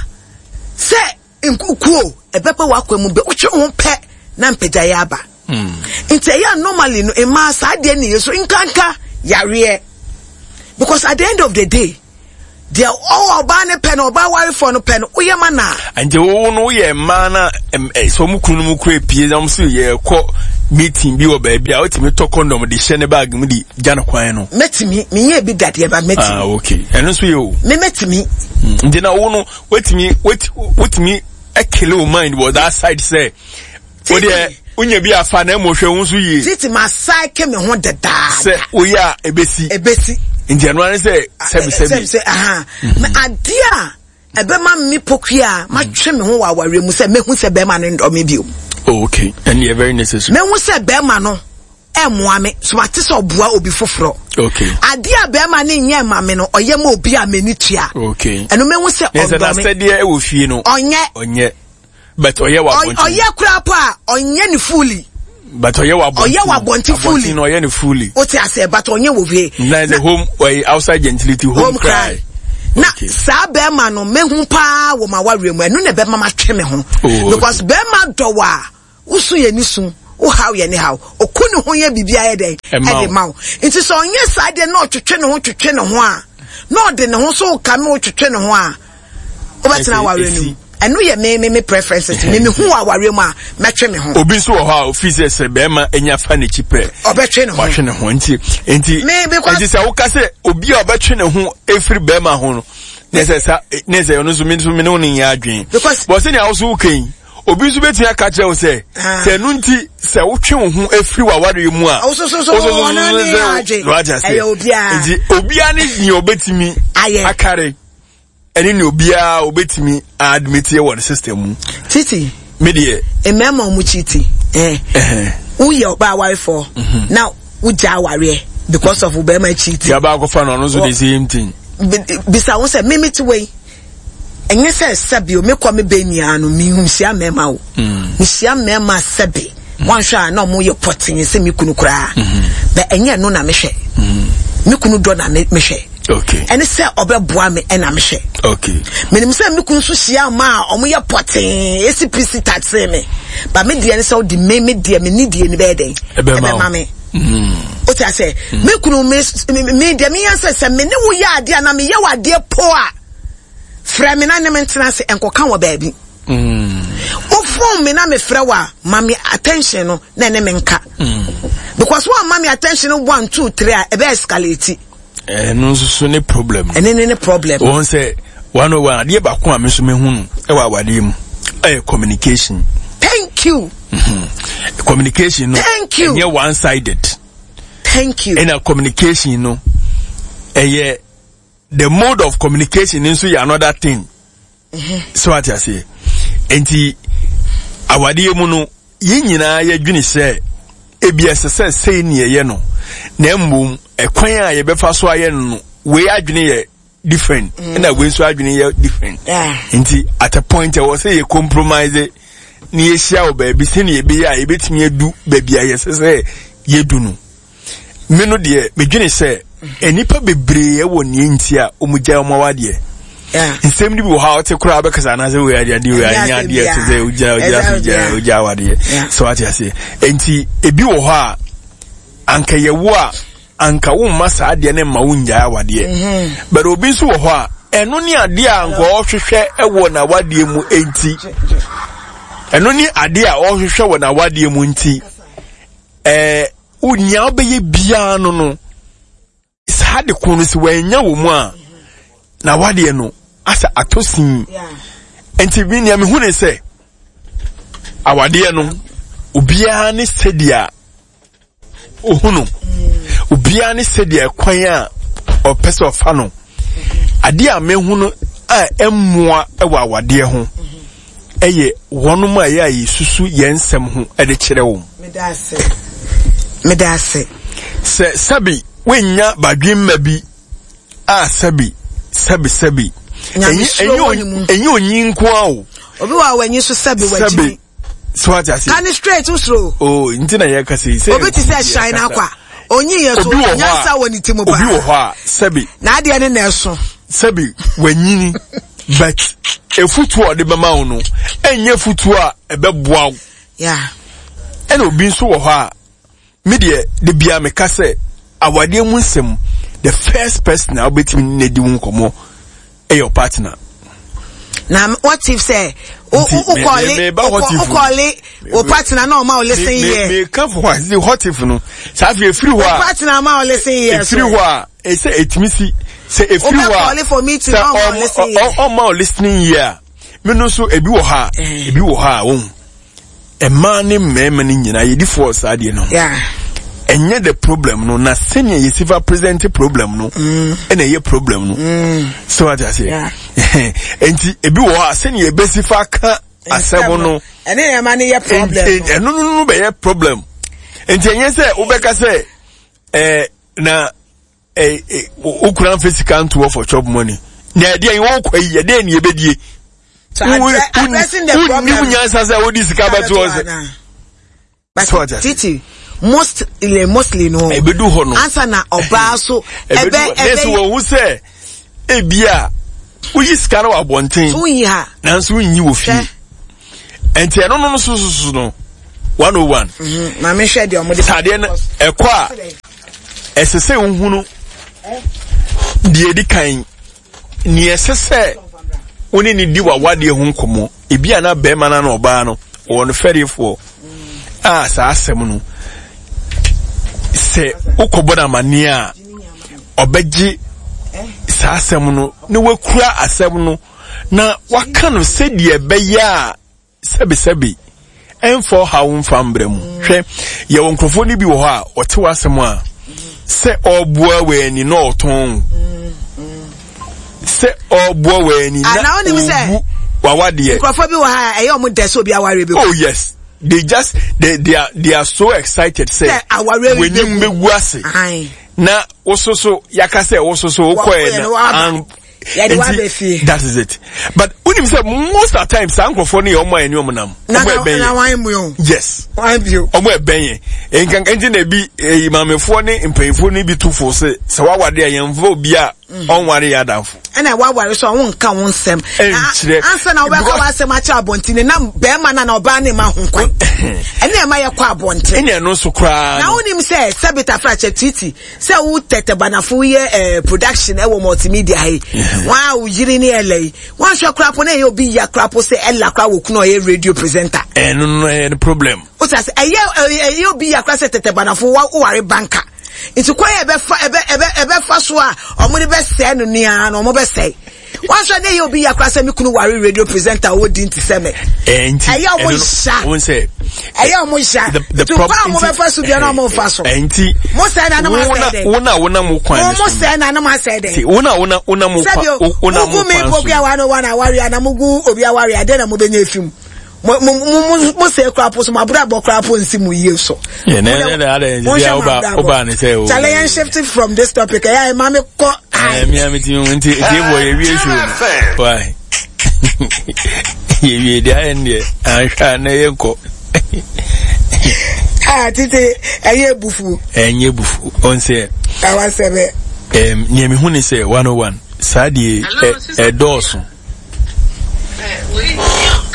sɛ nkukuo ɛbɛbɔ w'akwan mu bɛ wotwe ho pɛ na mpagyaeɛ aba. Nti ɛyɛ normally no mmaa saa deɛ ne yɛ so nkanka yareɛ because at the end of the day deɛ ɔwɔ ɔbaa ne pɛ no ɔbaa warefoɔ no pɛ no woyɛ ma na. Nti wo no woyɛ mmaa na sɛ ɔmo kunu no mu kura pie na ɔmo so yɛ kɔ meeting bi wɔ baabi a wotumi tɔ condom de hyɛ ne bag mu de gya no kwan no. Mɛtumi menyɛ bi dadeɛ ba mɛtumi. Ah okay ɛno nso yɛ o. Me mɛtumi. Nti na wo no wotumi wotumi ɛkele wo mind wɔ that side sɛ. O deɛ wonya bi afa na mmɔ hwɛ wo nso yie. Titi ma saeke me ho dedaada. Sɛ woyɛ a ebesi. Ebesi. Nti ɛno ara sɛ sɛbi sɛbi. Sɛbi sɛ aha. Na adeɛ a ɛbɛma me pokua a matwe me ho wɔ awareɛ mu sɛ mehu sɛ bɛrima no ndɔ me bio. Oh okay, ɛne yɛ very necessary. Mehu sɛ bɛrima no ɛmmoa me so mate sɛ ɔboa obi foforɔ. Okay. Adeɛ a bɛrima no nyɛ ma me no ɔyɛ ma obi a m'ani tua. Okay. Ɛno mehu sɛ ɔndɔ me. Ɛsɛ n'asɛdeɛ ɛwɔ fie no. Ɔnyɛ. Ɔnyɛ. But ɔyɛ wɔ abɔnten. Ɔyɛ koraa po a ɔnyɛ ne fully. But ɔyɛ wɔ abɔnten. Ɔyɛ wɔ abɔnten fully. Abɔnten ɔyɛ ne fully. O ti ase but ɔnyɛ wɔ fie. Na the home ɔyɛ outside gentility home, home cry. Na okay. Saa bɛrima no mehu paa wɔ ma wareɛ mu ɛno na ɛbɛma ma twe me ho. Oh, because bɛrima dɔ wɔ a Wosu yɛ ne su, wohaw yɛ ne haw, oku ne ho yɛ biribi ayɛ dɛn ɛde ma wo. Nti sɛ ɔnyɛ saa deɛ na ɔtwetwe ne ho twetwe ne ho a, na ɔde ne ho so ka na ɔtwetwe ne ho a, wobɛtena awareɛ no mu. Ɛno yɛ me me me preferences. Me me hu wɔ awareɛ mu a, mɛtwe me ho. Obi nso wɔ hɔ a ofi sɛ sɛ bɛrima anya fa n'akyi pɛ, ɔbɛtwe ne ho, watwe ne ho. Nti nti nti sɛ woka sɛ obi a ɔbɛtwe ne ho efiri bɛrima ho no, ne sɛ sa ne sɛ ɔno nso me nso me ne wo ne nyɛ adwene. Bɔ sɛnea woso woka yi, obi nso bɛtumi aka kyerɛ wo sɛ sɛ ɛno nti sɛ wotwe wo ho afiri w'awareɛ mu a, nti obiara ne nea ɔbɛtumi akare ɛne nea obiara ɔbɛtumi admit wɔ ne system mu. Titi, me deɛ mmarima ɔmo kyiti eh woyɛ ɔbaa awarefoɔ na wogya awareɛ because of bɛrima kyiti. Yaba akɔfa no, ɔno nso the same thing. Bisa wo sɛ mimi ti wei, ɛnyɛ sɛ sɛbi o, mekɔ me bɛ nyinaa no mehyia mmarima o, mehyia mmarima sɛbi wanhwɛ a na ɔmo yɛ pɔtee sɛ me kunu koraa, bɛ ɛnyɛ no na mehwɛ, me kunu dɔ na mehwɛ, ɛne sɛ ɔbɛboa me ɛna mehwɛ. Menim sɛ me kunu nso hyia mma a ɔmo yɛ pɔtee esi pisi taxi me, ba me deɛ ne sɛ ɔde me me deɛ me ni deɛ ni bɛyɛ dɛn ɛbɛma me. O ti ase, me kunu me me deɛ me yɛn sɛ sɛ me ne wo yɛ adeɛ na me yɛ wɔ adeɛ po a, frɛ me na ne me ntena ase nkɔka wɔ baabi. Wo phone me na me frɛ wo a, ma me attention no na ne me nka. Because wo ma me attention no one two three a, ɛbɛ escalate. Ɛno nso so ne problem. Ɛne ne ne problem. Wɔn sɛ one oh one adeɛ baako a me nso mehu no ɛwɔ awadeɛ mu ɛyɛ communication. Thank you. Mm-hmm. Communication no. Thank you. Ɛnyɛ one sided. Thank you. Ɛna communication no ɛyɛ the mode of communication nso yɛ another thing. Mm-hmm. So ate aseɛ. Nti awadeɛ mu no yɛn nyinaa yɛdwene sɛ ebi ɛsɛ sɛ sei ne yɛyɛ no, na mmom ɛkwan a yɛbɛfa so ayɛ no no, wei adwene yɛ different, ɛna mm. wei nso adwene yɛ different. Nti at a point ɛwɔ sɛ yɛ compromise na yɛhyia wɔ baabi sɛnea yɛbɛyɛ a yɛbɛtumi adu baabi a yɛsɛ sɛ yɛdu no. Me no deɛ medwene sɛ nnipa bebree wɔ nea nti a wɔn gya wɔn awadeɛ. Nsɛm no bi wɔ hɔ a ɔte koraa bɛkasa anaasɛ wei adeɛ adeɛ wei anyɛ adeɛ ɛte sɛ ogya ogya so gya ogya awadeɛ sɛ wate aseɛ. Nti ebi wɔ hɔ a anka yɛwo a anka womma saa adeɛ no mma wongyae awadeɛ, but obi nso wɔ hɔ a ɛno ne adeɛ a anka ɔhwehwɛ wɔ n'awadeɛ mu nti, ɛno ne adeɛ a ɔhwehwɛ wɔ n'awadeɛ mu nti ɛɛ nea wobɛyɛ biara no no saa de ko no sɛ wanya wɔ mu a na wadeɛ no asa atɔ sin. Nti bi nea mehu ne sɛ awadeɛ no obiara ne sɛdeɛ ohu no, obiara ne sɛdeɛ kwan a ɔpɛ sɛ ɔfa no. Adeɛ a mehu no a ɛmmoa wɔ awadeɛ ho ɛyɛ wɔnom a ɛyɛ a yɛsusu yɛn nsɛm ho de kyerɛ wɔn. Meda ase. Sɛ sɛbi wonya badwemma bi a sɛbi sɛbi sɛbi ɛnyɛ onyi nko a o. Obi wɔ a w'anyi so sɛbi w'agyimi. So ate ase. Ka ne straight wosoro. O nti na yɛ kasa yi. Obi te sɛ shine akwa. Onyi yɛ so nyansa wɔ ne ti mu paa. Obi wɔ hɔ a sɛbi. N'adeɛ ne na ɛso. Sɛbi wanyini but efutuo a ɔde bɛma wo no ɛnyɛ futuo a ɛbɛboa wo. Yeah. Ɛna obi nso wɔ hɔ a me deɛ de bia meka sɛ awadeɛ mu nsɛm, the first person a wobɛtumi ne di wo nkɔmmɔ ɛyɛ your partner. Na what if sɛ wokɔle wokɔle wo partner na ɔma wo listen ear? Meka fo hɔ a what if no saa afei efiri hɔ a partner ma wo listen ear so efiri hɔ a ɛsɛ etumi si sɛ efiri hɔ a wobɛkɔle for meeting na ɔma wo listen ear, ɔma wo listening ear a me no nso ebi wɔ hɔ a ebi wɔ hɔ a wɔn mmaa ne mmarima no nyinaa yɛdi fɔɔ saa deɛ no. Ɛnyɛ the problem no na sɛnea yɛsi fa present problem no ɛna ɛyɛ problem no. Sɛ wate aseɛ, nti ebi wɔ hɔ a sɛnea yɛbɛsi fa ka asɛm no ɛne nneɛma no yɛ problem. Ɛno no no bɛyɛ problem. Nti ɛnyɛ sɛ wobɛka sɛ ɛɛ na ɛɛ wokura nfɛ sika ntoɔ for chop money na ɛdeɛ yi wɔkɔ yi ɛdeɛ ni ebedie. Wonnim nyansa sɛ wode sika bɛto hɔ sɛ But titi mostly mostly no ebedu hɔ no ansa na ɔbaa so ɛbɛ ɛbɛ nso wɔn ho sɛ ebi a woyi sika no wɔ abɔnten so woyi ha nanso wonyi wɔ fie nti ɛno no so so so no one oh one. Maame hwɛ deɛ ɔmo de. Sɛ adeɛ no ɛkɔ a ɛsɛ sɛ wohunu deɛ edi kan nea ɛsɛ sɛ wo ne ne di w'awadeɛ ho nkɔmmɔ. Ebi a na bɛrima no na ɔbaa no ɔwɔ no fɛrefoɔ a saa asɛm no sɛ wokɔbɔ no amanneɛ a ɔbɛgye saa asɛm no na wakura asɛm no na waka no sɛdeɛ ɛbɛyɛ a sɛbesɛbe ɛmfa ɔhaw mfa mbrɛ mu. Hwɛ, yɛwɔ nkurɔfoɔ no bi wɔ hɔ a ɔte w'asɛm a sɛ ɔreboa w'ani na ɔtɔn sɛ ɔreboa w'ani na ɔbu w'awadeɛ. Nkurɔfoɔ bi wɔ ha a ɛyɛ ɔmo dɛ sɛ obi awareɛ bi. Oh yes, they just they they are they are so excited sɛ w'anim bɛgu ase na wososo yaka sɛ wososo wokɔɛ na yɛde wa bɛ fie. That is it, but wonim sɛ most of the time saa nkurɔfoɔ no yɛ ɔmo a ɛne ɔmo nam. Ɔmo ɛbɛn yɛ. Yes, ɔmo ɛbɛn yɛ nkankan nti na ebi eyi maamefoɔ ne mpanyinfoɔ no bi to fo sɛ sɛ wawade a yɛn fo obi a ɔnware yɛ adamfo. Ɛna waware so a wonka wo nsɛm. Ɛnkyerɛ. Ansa na wobɛka w'asɛm akyerɛ abɔnten na bɛrima na na ɔbaa ne ma ho kwan. Ɛne ɛma yɛkɔ abɔnten. Ɛne ɛno nso koraa. Na wonim sɛ sɛbita frakyɛ titi sɛ wo tɛtɛ banafo yɛ eh, production ɛwɔ multimedia ha yi. Wɔn a wo yiri ne ɛlɛ yi. Wɔn ahwɛ koraa po na ɛyɛ obi ya koraa po sɛ ɛla koraa wɔ kunu ɔyɛ radio presenter. Ɛno no ɛyɛ no problem. O sɛ ɛyɛ ɛyɛ obi ya koraa sɛ tɛtɛ banafo wa ware banka. Nti kwan yɛ ɛbɛfa ɛbɛ ɛbɛ ɛbɛfa so a ɔmo de bɛsɛɛ no nea na ɔmo bɛsɛe. Wɔn ahwɛ ne yɛ obi ya koraa sɛ mi kunu ware radio presenter ɔwɔ di nti sɛ mɛ. Ɛyɛ ɔmo nhyia. Ɛyɛ ɔmo nhyia. Nti kwan a ɔmo bɛfa so bia na ɔmo nfa so. Nti mo sɛ na anam asɛ dɛ. Wo na wo na mo kwan. Mo sɛ na anam asɛ dɛ. Wo na wo na wo na mo kwan. Sɛbi o, mo gu mi mpo bi a wa no wa na awari ana mo gu obi awari ade na mo bɛ nye efim. Mo mo mo mo sɛ kura po so mo abura bɔ kura po nsi mo yie so. Yɛ nɛ nɛ nɛ adɛ nti a ɔba ɔba ne sɛ o. Chale yɛn shift from this topic ɛyɛ ayɛ maame kɔ. Ɛɛ mi a mi ti mi nti tie bɔ yɛ wie show. Why? Yɛ wie deɛ ayɛ ndeɛ anhwɛ a na yɛ nkɔ. Ah tete ɛyɛ bufu. Ɛnyɛ bufu ɔn sɛ. Awa sɛbɛ. Ɛm nea mi hu ne sɛ one oh one saa deɛ ɛdɔɔso.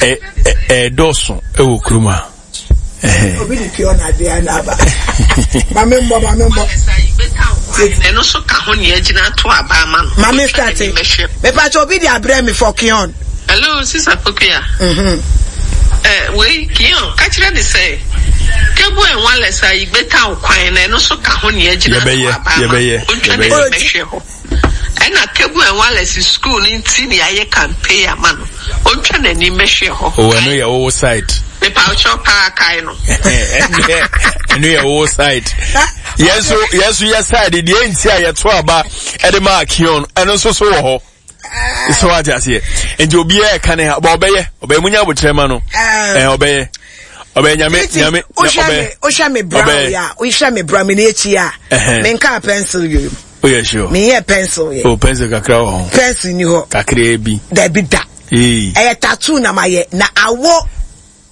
Ɛdɔɔso ɛwɔ kurom a. Obi de pure na adeɛ na aba. Maame mbɔ maame mbɔ. Ɛno so ka ho nea gyina to aba ama no. Maame start. Mepa kyɛ obi de abrɛ mi for Kion. Hello, Sister Pokuya. Mhm. Eh, wei Kion, ka kyerɛ ne sɛ Kebu and Wallace a yigbeta kwan na ɛno so ka ho nea gyina to aba ama no. Ontwa ne bɛhwɛ hɔ. Ɛna Kebu and Wallace school no nti ne ayɛ campaign ama no. Ontwa n'ani mmɛhwɛ hɔ. Oh, ɛno yɛ wo side. Mepa ɔkyɛw paa kae no. Ɛno yɛ wo side. Yɛn so yɛn so yɛ side deɛ nti a yɛto aba ɛde ma Akion ɛno nso so wɔ hɔ. So wate aseɛ. Nti obiara ɛka ne ha ɔbɛ ɔbɛyɛ ɔbɛyɛ munya abokyerɛ ma no. Ɛɛ ɔbɛyɛ ɔbɛyɛ nyame nyame ɔbɛyɛ. Wohwɛ me brow ya wohwɛ me brow me n'akyi a menka pencil yɛ. Oh yeah, sure. Me yɛ pencil yɛ. Oh pencil kakra wɔ ho. Pencil ni hɔ. Kakra bi. Dabi da. Ee. Ɛyɛ tattoo na ma yɛ na awo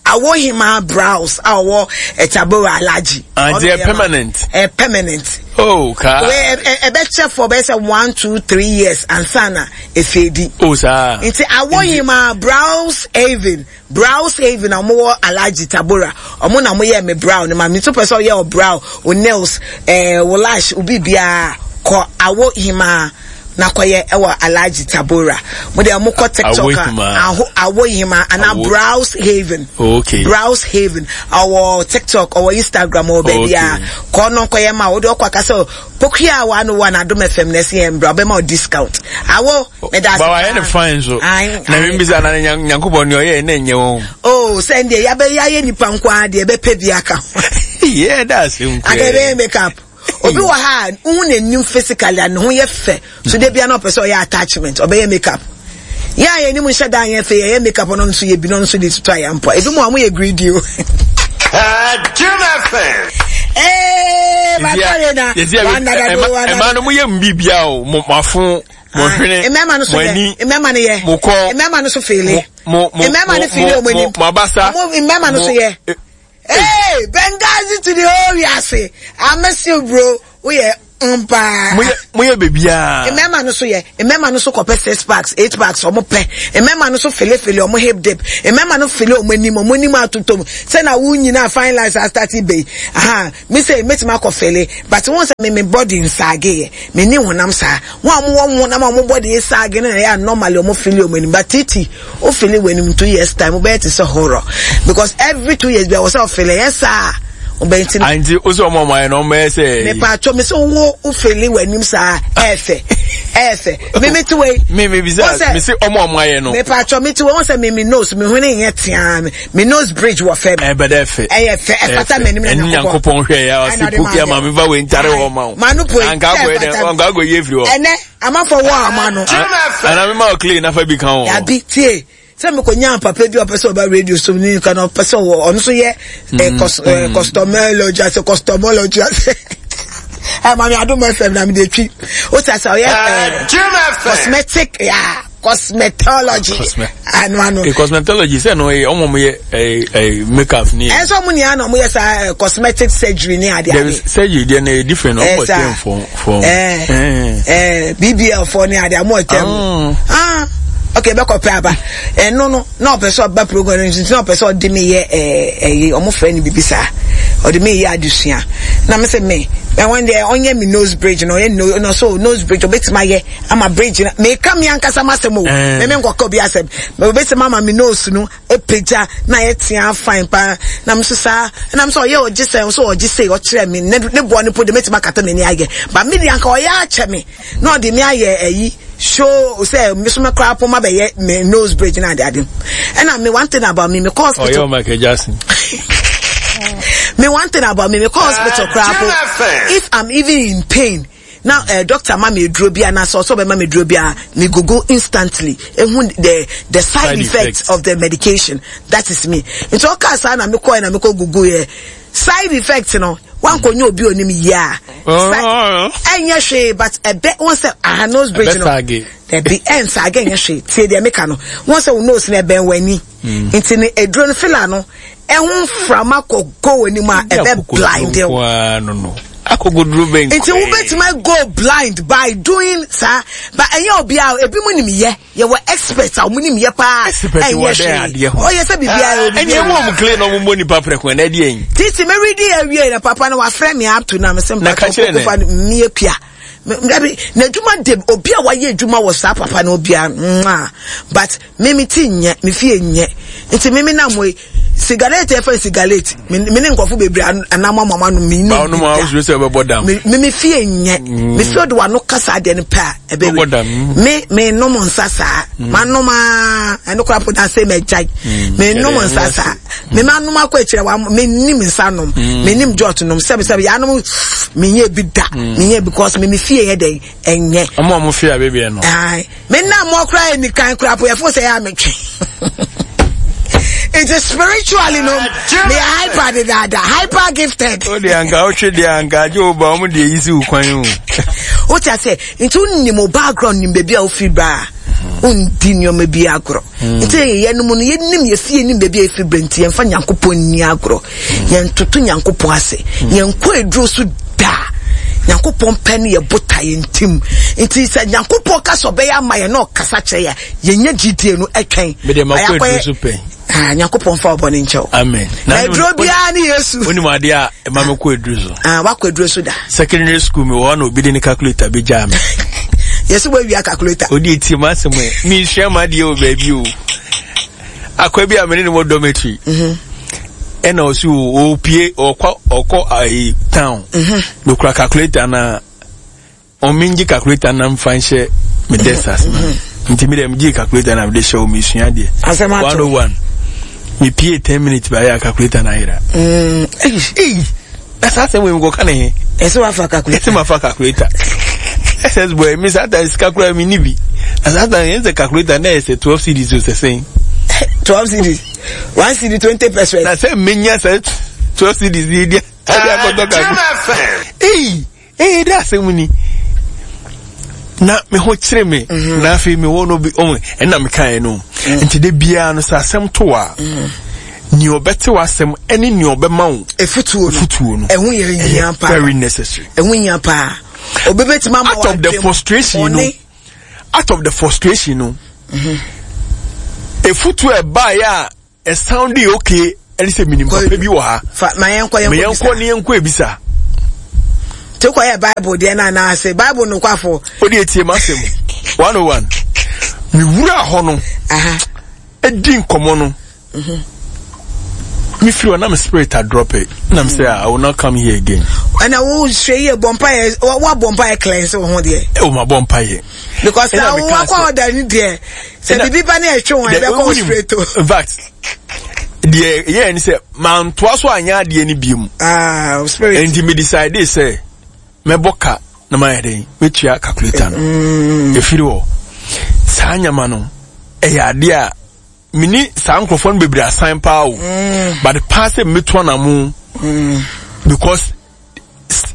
awo hima brows a ɔwɔ ɛtabora alaji. Ah, nti ɛ permanent. Ɛ permanent. Oh kaa. Wɛ ɛ ɛbɛkyɛ for bɛyɛ sɛ one two three years ansa na efeedi. Oh saa. Nti awo hima brows haven. Brows Haven a wɔn wɔ Alhaji Tabora, wɔn na wɔn yɛ me brow no ma me nso pɛ sɛ ɔyɛ o brow, o nails, ɛɛ wo lash, o biribiara kɔ awo hima na kɔyɛ ɛwɔ Alhaji Tabora. Mo deɛ mo kɔ TikTok a aho awo hima ana Brows Haven. Okay. Brows Haven ɔwɔ TikTok, ɔwɔ Instagram, ɔwɔ baabi a kɔ no kɔyɛ ma wo de ɔkɔ akasɛ Pokuya wa no wa na Adom F M na ɛsɛ yɛn mbra ɔbɛma o discount. Awo meda ase. Ba wayɛ ne fine so. Na mi bisa na Nyankopɔn ne ɔyɛ ne nyɛ wɔn. Oh sɛ ndeɛ yabɛ yayɛ nipa nko ara deɛ ɛbɛpɛ bi aka ho. Yeah that's nko. Aka ɛbɛyɛ make up. Obi wɔ ha a wohu n'anim physically a ne ho yɛ fɛ so de bia na ɔpɛ sɛ ɔyɛ attachment ɔbɛyɛ make up. Yɛ a yɛn anim nhyɛ da anyɛ fɛ yɛyɛ make up no nso yɛ bi no nso de tutu ayɛ mpo ebi mu a wɔyɛ greedy o. Jim F M. Ee matɔre na ɛma no mo yɛ mu bibia o mo afo mo hwene mo ani mmarima no yɛ mo kɔn mmarima no so feele mo mo mmarima no feele wɔn anim mo abasa mmarima no so yɛ. Hey, Benghazi to the whole wiase. I miss you, bro. We are Mpaa. Moyɛ moyɛ beebiara. Mmarima no so yɛ mmarima no so kɔpɛ six packs eight packs ɔmo pɛ mmarima no so felefele ɔmo hip dip mmarima no fele ɔmo anim ɔmo anim atotɔ mu sɛ na wo nyinaa fine lines asitati bɛyi aha mi sɛ mɛtumi akɔ fele but wɔn sɛ mi mi body nsaage yɛ mi ni honam saa wɔn a wɔn wɔ honam a wɔn body saage no na ɛyɛ normally ɔmo fele ɔmo anim but titi o fele wɔ anim two years time wobɛyɛ te sɛ horror because every two years bi a wɔ sɛ ɔfele yɛ saa. Ɔbɛn ti. Anti o sɛ ɔmo ɔmo ayɛ no ɔmo yɛ sɛ. Mepa atwa mi sɛ wo wo fele w'anim saa ɛɛfɛ ɛɛfɛ mi mi ti wei. Mi mi bisa mi sɛ ɔmo ɔmo ayɛ no. Mepa atwa mi ti wei wɔn sɛ mi mi nose mi hwene nyɛ tia mi mi nose bridge wɔ fɛm. Ɛbɛ dɛ fɛ. Ɛyɛ fɛ ɛfata mi anim na nyankopɔn. Ɛni nyankopɔn hwɛ ya ɔsi puki ama mi fa wei ntare hɔ ma o. Maa no poe. Anka akɔ yɛ dɛ anka akɔ yie firi hɔ. Ɛnɛ amanfo wɔ ama no. Ana mi ma o clay nafa bi kan o. Yabi tie. Sɛ mekɔnya papa bi a ɔpɛ sɛ ɔba radio so ne nka na ɔpɛ sɛ ɔwɔ ɔno nso yɛ costomology ase costomology ase ɛ maame Adom F M na mede twi o ti ase ɔyɛ cosmetic ya cosmetology ano ano. Cosmetology sɛ no ɔmo ɔmo yɛ ɛ ɛ makeup ni. Ɛsɛ ɔmo nyinaa na ɔmo yɛ saa cosmetic surgery ni ade ade. Surgery deɛ no yɛ different ɔmo tɛm fɔ fɔ. Ɛɛ ɛɛ B B L fɔ ni ade ɔmo tɛm. Ah. Okay, bɛkɔ pɛ aba ɛno no na ɔpɛ sɛ ɔba program no nti na ɔpɛ sɛ ɔde me yɛ ɛɛ ɛyi ɔmo frɛ no bibi saa ɔde me yɛ adesua na me sɛ me ɛwɔn deɛ ɔnyɛ me nose bridge na ɔyɛ no na so nose bridge ɔbɛtumi ayɛ ama bridge na meka me ankasa ma asɛm o me me nkɔka obi asɛm ɔbɛtumi ama me nose no epagya na ayɛ tea fine paa na me so saa na me so ɔyɛ ɔgye sɛ ɔso ɔgye sɛ ɔkyerɛ me ne ne boɔ ne po de mɛtumi akata m'ani ayɛ ba me deɛ anka ɔyɛ akyɛ me na ɔde me ayɛ ɛyi. Show say me so me kra poma be me nose bridge na ade ade. And me one thing about me me call hospital. Oh, yo, Michael Jackson. Me one thing about me me call hospital kra po. If I'm even in pain now, uh, doctor ma me duro bia na so so be ma me duro bia me google instantly. Ehun the the side, side effects, effects of the medication. That is me. Nti o ka sa na me call na me call google ye. Side effects no. One ko nyo obi onim ya. Enye hwe but ebe won say ah nose bridge no. E be ensage enye hwe. Tie de meka no. Won say wo nose na eben wani. Nti ne eduro no filler no ehun frama ko wani ma ebe blind. No no. Akogoduro ben. Nti wo betima go blind by doing sir but enye obi a ebi mu nim ye. You were experts, I'm winning your pa. Expert, you were there, dear. Oh, yes, I be. And you won't clean no money, papa. When Eddie, Titi, Mary, dear, we are papa. No, a friend me up to now. Me, Pia. Najuma de Obia, why ye Juma was up, papa, no Obia, but Mimi Tinya, me fear nye. It's a Mimi Namway. Cigarette, if I cigarette, meaning coffee, baby, and I'm mamma, me, no, no, I was me, me fear nye, me feel the one no casa den pa, a baby. Me, me, no mon sasa, man no ma, and no crap would I say, me jack, me no mon sasa, me man no ma quetcher, me nim sanum, me nim jotnum, seven seven, animal, me ye be da, me ye because me me fear day and ye. I'm more fear, baby. Aye, me now more cry in the kind crap, we are forced to am. It is spiritually no. Me hyper dada, hyper gifted. Oh, the anka, oh, the anka, Joe, but I'm the easy one. What I say, into ni mo background ni baby a ofi ba. Undi ni o bi agro. Nti ye no mo no ye nim ye fie nim baby a ofi ba nti ye mfa Nyankopon ni agro. Ye ntoto Nyankopon ase. Ye nko eduro so da. Nyankopon pɛ ne ye bota ye ntim. Nti sɛ Nyankopon ka so be ya ma ye na ɔkasa kyerɛ ye, ye nya G D no etwen. Me de makɔ eduro so pɛ. Ah, Nyankopon fa obone nkyɛw. Amen. Na eduro bia ne Yesu. Oni ma de a ma me kɔ eduro so. Ah, wakɔ eduro so da. Secondary school me wɔ na obi de ne calculator be gya me. Yesu wa wia calculator. Odi eti ma asem e. Mi hwe ma de o ba bi o. Akwa bi a me ne mo dormitory. Mhm. E na osi o pie okọ okọ ai town. Mhm. No kura calculator na o minji calculator na mfa nhye me desk as na. Nti mi dem ji calculator na me de hye o mi sua de. one oh one. Me pie ten minutes by a calculator na ira. Mm. Eh. That's how we go kan he. E so afa calculator. E ma fa calculator. S S boy me sometimes calculator me ni bi. And sometimes the calculator na is twelve C Ds o se twelve C Ds. one C D twenty percent. Na say menya say twelve C Ds di dia. Eh, eh that's money. Na me ho kyere me na afi me wo no bi o en na me kan no nti de bia no sa asem to a ni obete wasem ene ni obema wo efutuo efutuo no ehun ye hia pa very necessary ehun hia pa Obi bɛtumi ama Out of the frustration no, out of the frustration no, efutu ɛbaeɛ a ɛsound okay ɛne sɛ minim papa bi wɔ ha. Fa ma yɛn kɔ yɛn kɔ bisa. Ma yɛn kɔ ne yɛn kɔ ebisa. Te kɔ yɛ Bible deɛ na anaasɛ Bible no kwafo. O de etie ma asɛm one oh one. Mi wura hɔ no. Edi nkɔmɔ no. Mi firi hɔ na mi spirit a drop it. Na mi sɛ I will not come here again. Ɛna wo hwɛ yie bɔ mpa yɛ wa bɔ mpa yɛ cleanse wo ho deɛ. Ɛ o ma bɔ mpa yɛ. Because na wo akɔ ɔda ni deɛ sɛ bibi ba ne ɛtwe wɔn ɛbɛ kɔ straight o. In fact deɛ yɛyɛ ni sɛ mantoa so anyɛ adeɛ no bio mu. Ah, spirit. Nti mi decide sɛ mɛbɔ ka na mayɛ dɛn mɛtua calculator no. Mm. Efiri hɔ saa nyama no ɛyɛ adeɛ a mini saa nkurɔfoɔ no bebree asan paa o. Mm. But paa sɛ mɛtu anamo. Mm. Because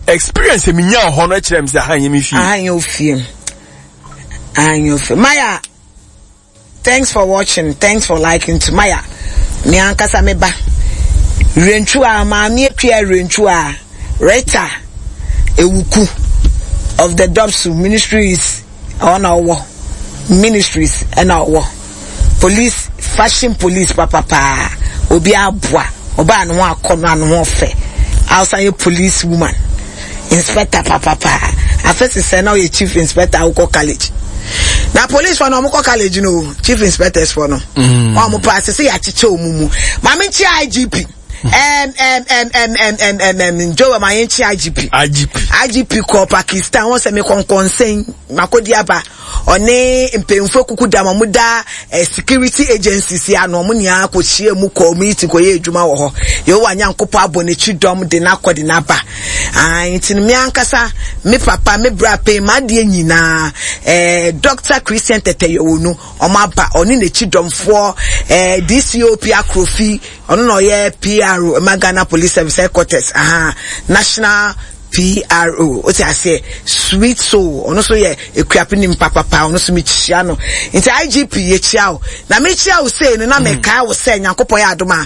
experience mi nya hɔ no kyerɛ mi sɛ aha nyɛ mi fie. Aha nyɛ ofie. Aha nyɛ ofie. Maya. Thanks for watching, thanks for liking to Maya. Me ankasa me ba. Rentu a maame atwa rentu a Rita Ewuku of the Dopsu Ministries ɔna ɔwɔ Ministries ɛna ɔwɔ police fashion police papapaa obi aboa ɔbaa ne ho akɔ no ano ho ɔfɛ awusan yɛ police woman inspector papapaa afɛ sisɛ na ɔyɛ chief inspector awokɔ college na police fo no ɔmo kɔ college no chief inspectors fo no ɔmo pa asese yɛ akyekyɛ ɔmo mu maame nkyi I G P M M M M M M M M Joe ma yɛn nkyi I G P I G P I G P kɔ Pakistan wɔn sɛ mi kɔnkɔnsɛn makodi aba ɔne mpanyinfo kuku dam ɔmo da eh, security agencies ano ɔmo nyinaa kɔ hyia mu kɔ meeting kɔ yɛ adwuma wɔ hɔ Yehowa Nyankopɔn abɔ n'akyi dɔm de n'akɔ de n'aba ah nti me ankasa me papa me bra pɛn ma adeɛ nyinaa eh, Doctor Christian Teteyowonu ɔmo aba ɔne n'akyi dɔmfoɔ eh, D C O P Akrofi ɔno na ɔyɛ P R O ma Ghana Police Service headquarters aha national P R O o ti ase sweet soul ono so ye ekuape papa papa ono so me chia no nti I G P ye chia o na me chia o say no na me kai o say Nyankopɔn ya adoma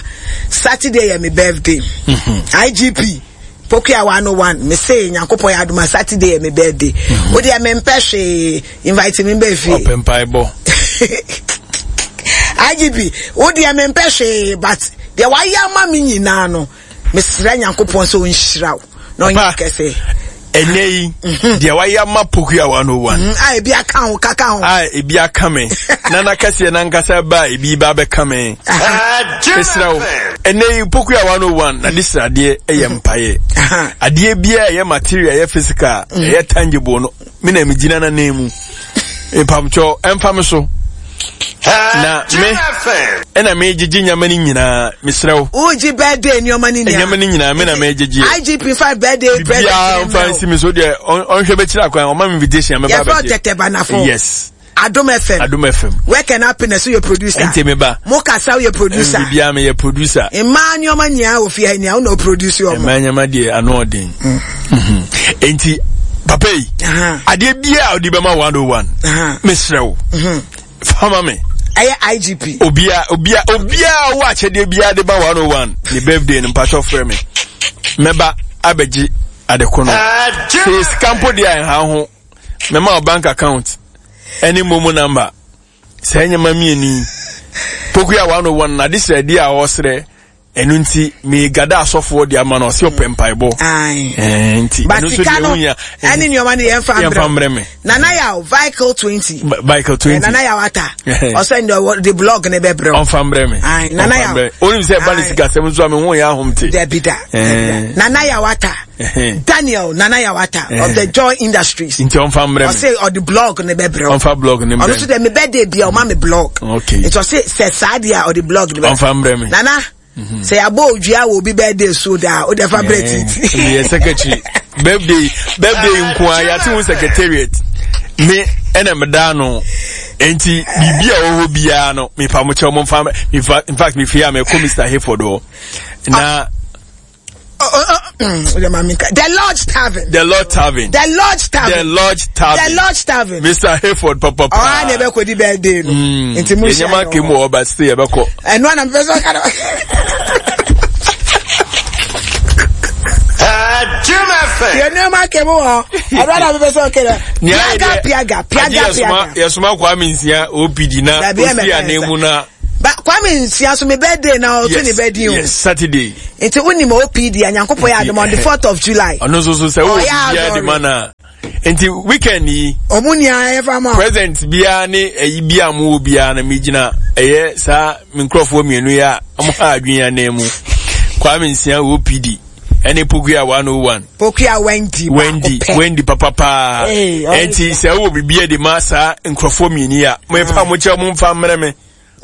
Saturday ye me birthday. Mm-hmm. I G P Pokuya one oh one me say Nyankopɔn ya adoma Saturday ye me birthday. Mm-hmm. O de me mpɛ invite me be fi open bible I G P o de me mpɛ but de wa ya ma me nyina no mesrɛ Nyankopɔn so nhyira wo no nyɛ kɛse ene yi de wa ya ma Pokuya one oh one ah ebi aka ho kaka ho ah ebi aka me na na kɛse na nkasa ba ebi ba be ka me mesrɛ wo ene yi Pokuya one oh one na disrade eye mpae ade bia eye material eye physical eye tangible no me na me gina na nemu mpamcho emfa me so na me ena me gigi nyama ni nyina mesrɛ wo uji birthday nyama ni nyina nyama ni nyina me na me gigi I G P five birthday present bia mfa nsi me so de onhwe be kira kwan o ma me invitation me ba be tete banafo. Yes, Adom F M. Adom F M. Work and happiness you producer. Ente me ba. Mo kasa you producer. Bia me ye producer. Mma nyoma nya ofie nya wo no produce o. Mma nyama de ano odin. Mhm. Enti papa yi. Ade bia odi be ma one oh one. Mesrɛ wo. Mhm. Fama me. Aye I G P. Obia obia obia wo achede bia de ba one oh one. Ne birthday no mpacho frɛ me. Meba abeji adeko no. Se sika mpo de a ha ho. Mema bank account. Any momo number. Say nyama mieni. Pokuya one oh one na this idea osre. Enu nti me gada asofo de ama no se opempai bo. Ai. Eh nti enu so de unya. Ani nyoma ne yemfa mbre me. Nana yaw vehicle twenty. Vehicle twenty. Nana yaw ata. O send the blog ne bebre. Onfa mbre me. Ai nana yaw. Oni se ba ne sika sem so me ho ya ahomte. Debida. Nana yaw ata. Daniel Nana Yawata of the Joy Industries. Nti onfa mbre me. O say or the blog ne bebre. Onfa blog ne mbre. Ono so de me birthday bia o ma me blog. Okay. It was say say sadia or the blog ne. Onfa mbre me. Nana mm-hmm. Say abo odua will be birthday so da o de fa bread it. Yeah, secretary. Birthday birthday nko a yate wo secretariat. Me ena me da no. Enti bibia wo ho bia no me fa mo che mo fa in fact me fia me ko Mister Hayford o. Na Oh, oh, oh. The Lodge Tavern. The Lodge Tavern. The Lodge Tavern. The Lodge Tavern. The Lodge Tavern. Mister Hayford, papa. Oh, I never could be birthday. Nti mo share. Enyama kemu oba stay ebeko. And one I'm first. Jim F Yɛ nneɛma kɛ mu wɔ ɛdɔ na bɛbɛ sɛ ɔkɛ dɛ piaga piaga piaga piaga. Yɛsoma Kwame Nsia O P D na osi anan mu na. Ba Kwame Nsia so me birthday na ɔto ne birthday o. Yes, Saturday. Nti wonim O P D a, Nyankopɔn yɛ adom, on the fourth of July. Ɔno nso so sɛ wowɔ biribiara de ma no a, nti weekend yi. Ɔmo nia ɛfa ma. Present biara ne ɛyi bi a mo wɔ biara no, mi gyina ɛyɛ saa me nkurɔfoɔ mmienu yi a ɔmo ha adwene anan mu, Kwame Nsia O P D ɛne Pokua one oh one. Pokua Wendy. Wendy, Wendy papapaa. Ɛnti sɛ wowɔ biribi de ma saa nkurɔfoɔ mmienu yi a, mo efa mo kyɛw, mo nfa mmerɛ me,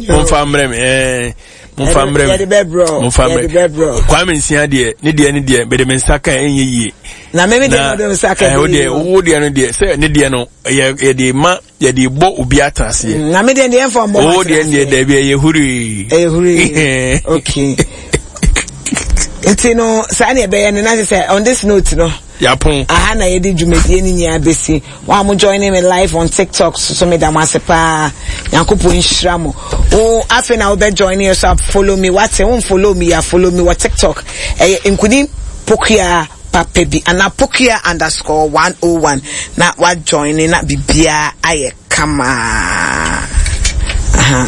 mo nfa mmerɛ me, ɛɛ mo nfa mmerɛ me, mo nfa mmerɛ Kwame Nsia deɛ, ne deɛ ne deɛ bɛde me nsa kan ɛnyɛ yie. Na mɛmi deɛ no de nsa kan. Ɛɛ o deɛ, wo deɛ no deɛ sɛ ne deɛ no yɛ yɛde ma, yɛde bɔ obi atena aseɛ. Na mi deɛ deɛ nfa mbɔ. O deɛ deɛ dɛbi, ɛyɛ hurii. Ɛyɛ hurii, okay. Nti no saa na ɛbɛyɛ no, na sɛ on this note no. Yapon. Aha na yɛde dwumadie no nyinaa bɛsi. Wɔn a mo join me live on TikTok so so meda mo ase paa, Nyankopɔn nhyira mo. Wo afei na wobɛ join yɛ so a, follow me, wate? Wo follow me a, follow me wɔ TikTok, ɛyɛ Nkunim Pokua papa bi anaa pokua underscore one oh one, na wa join na biribiara ayɛ kama. Aha.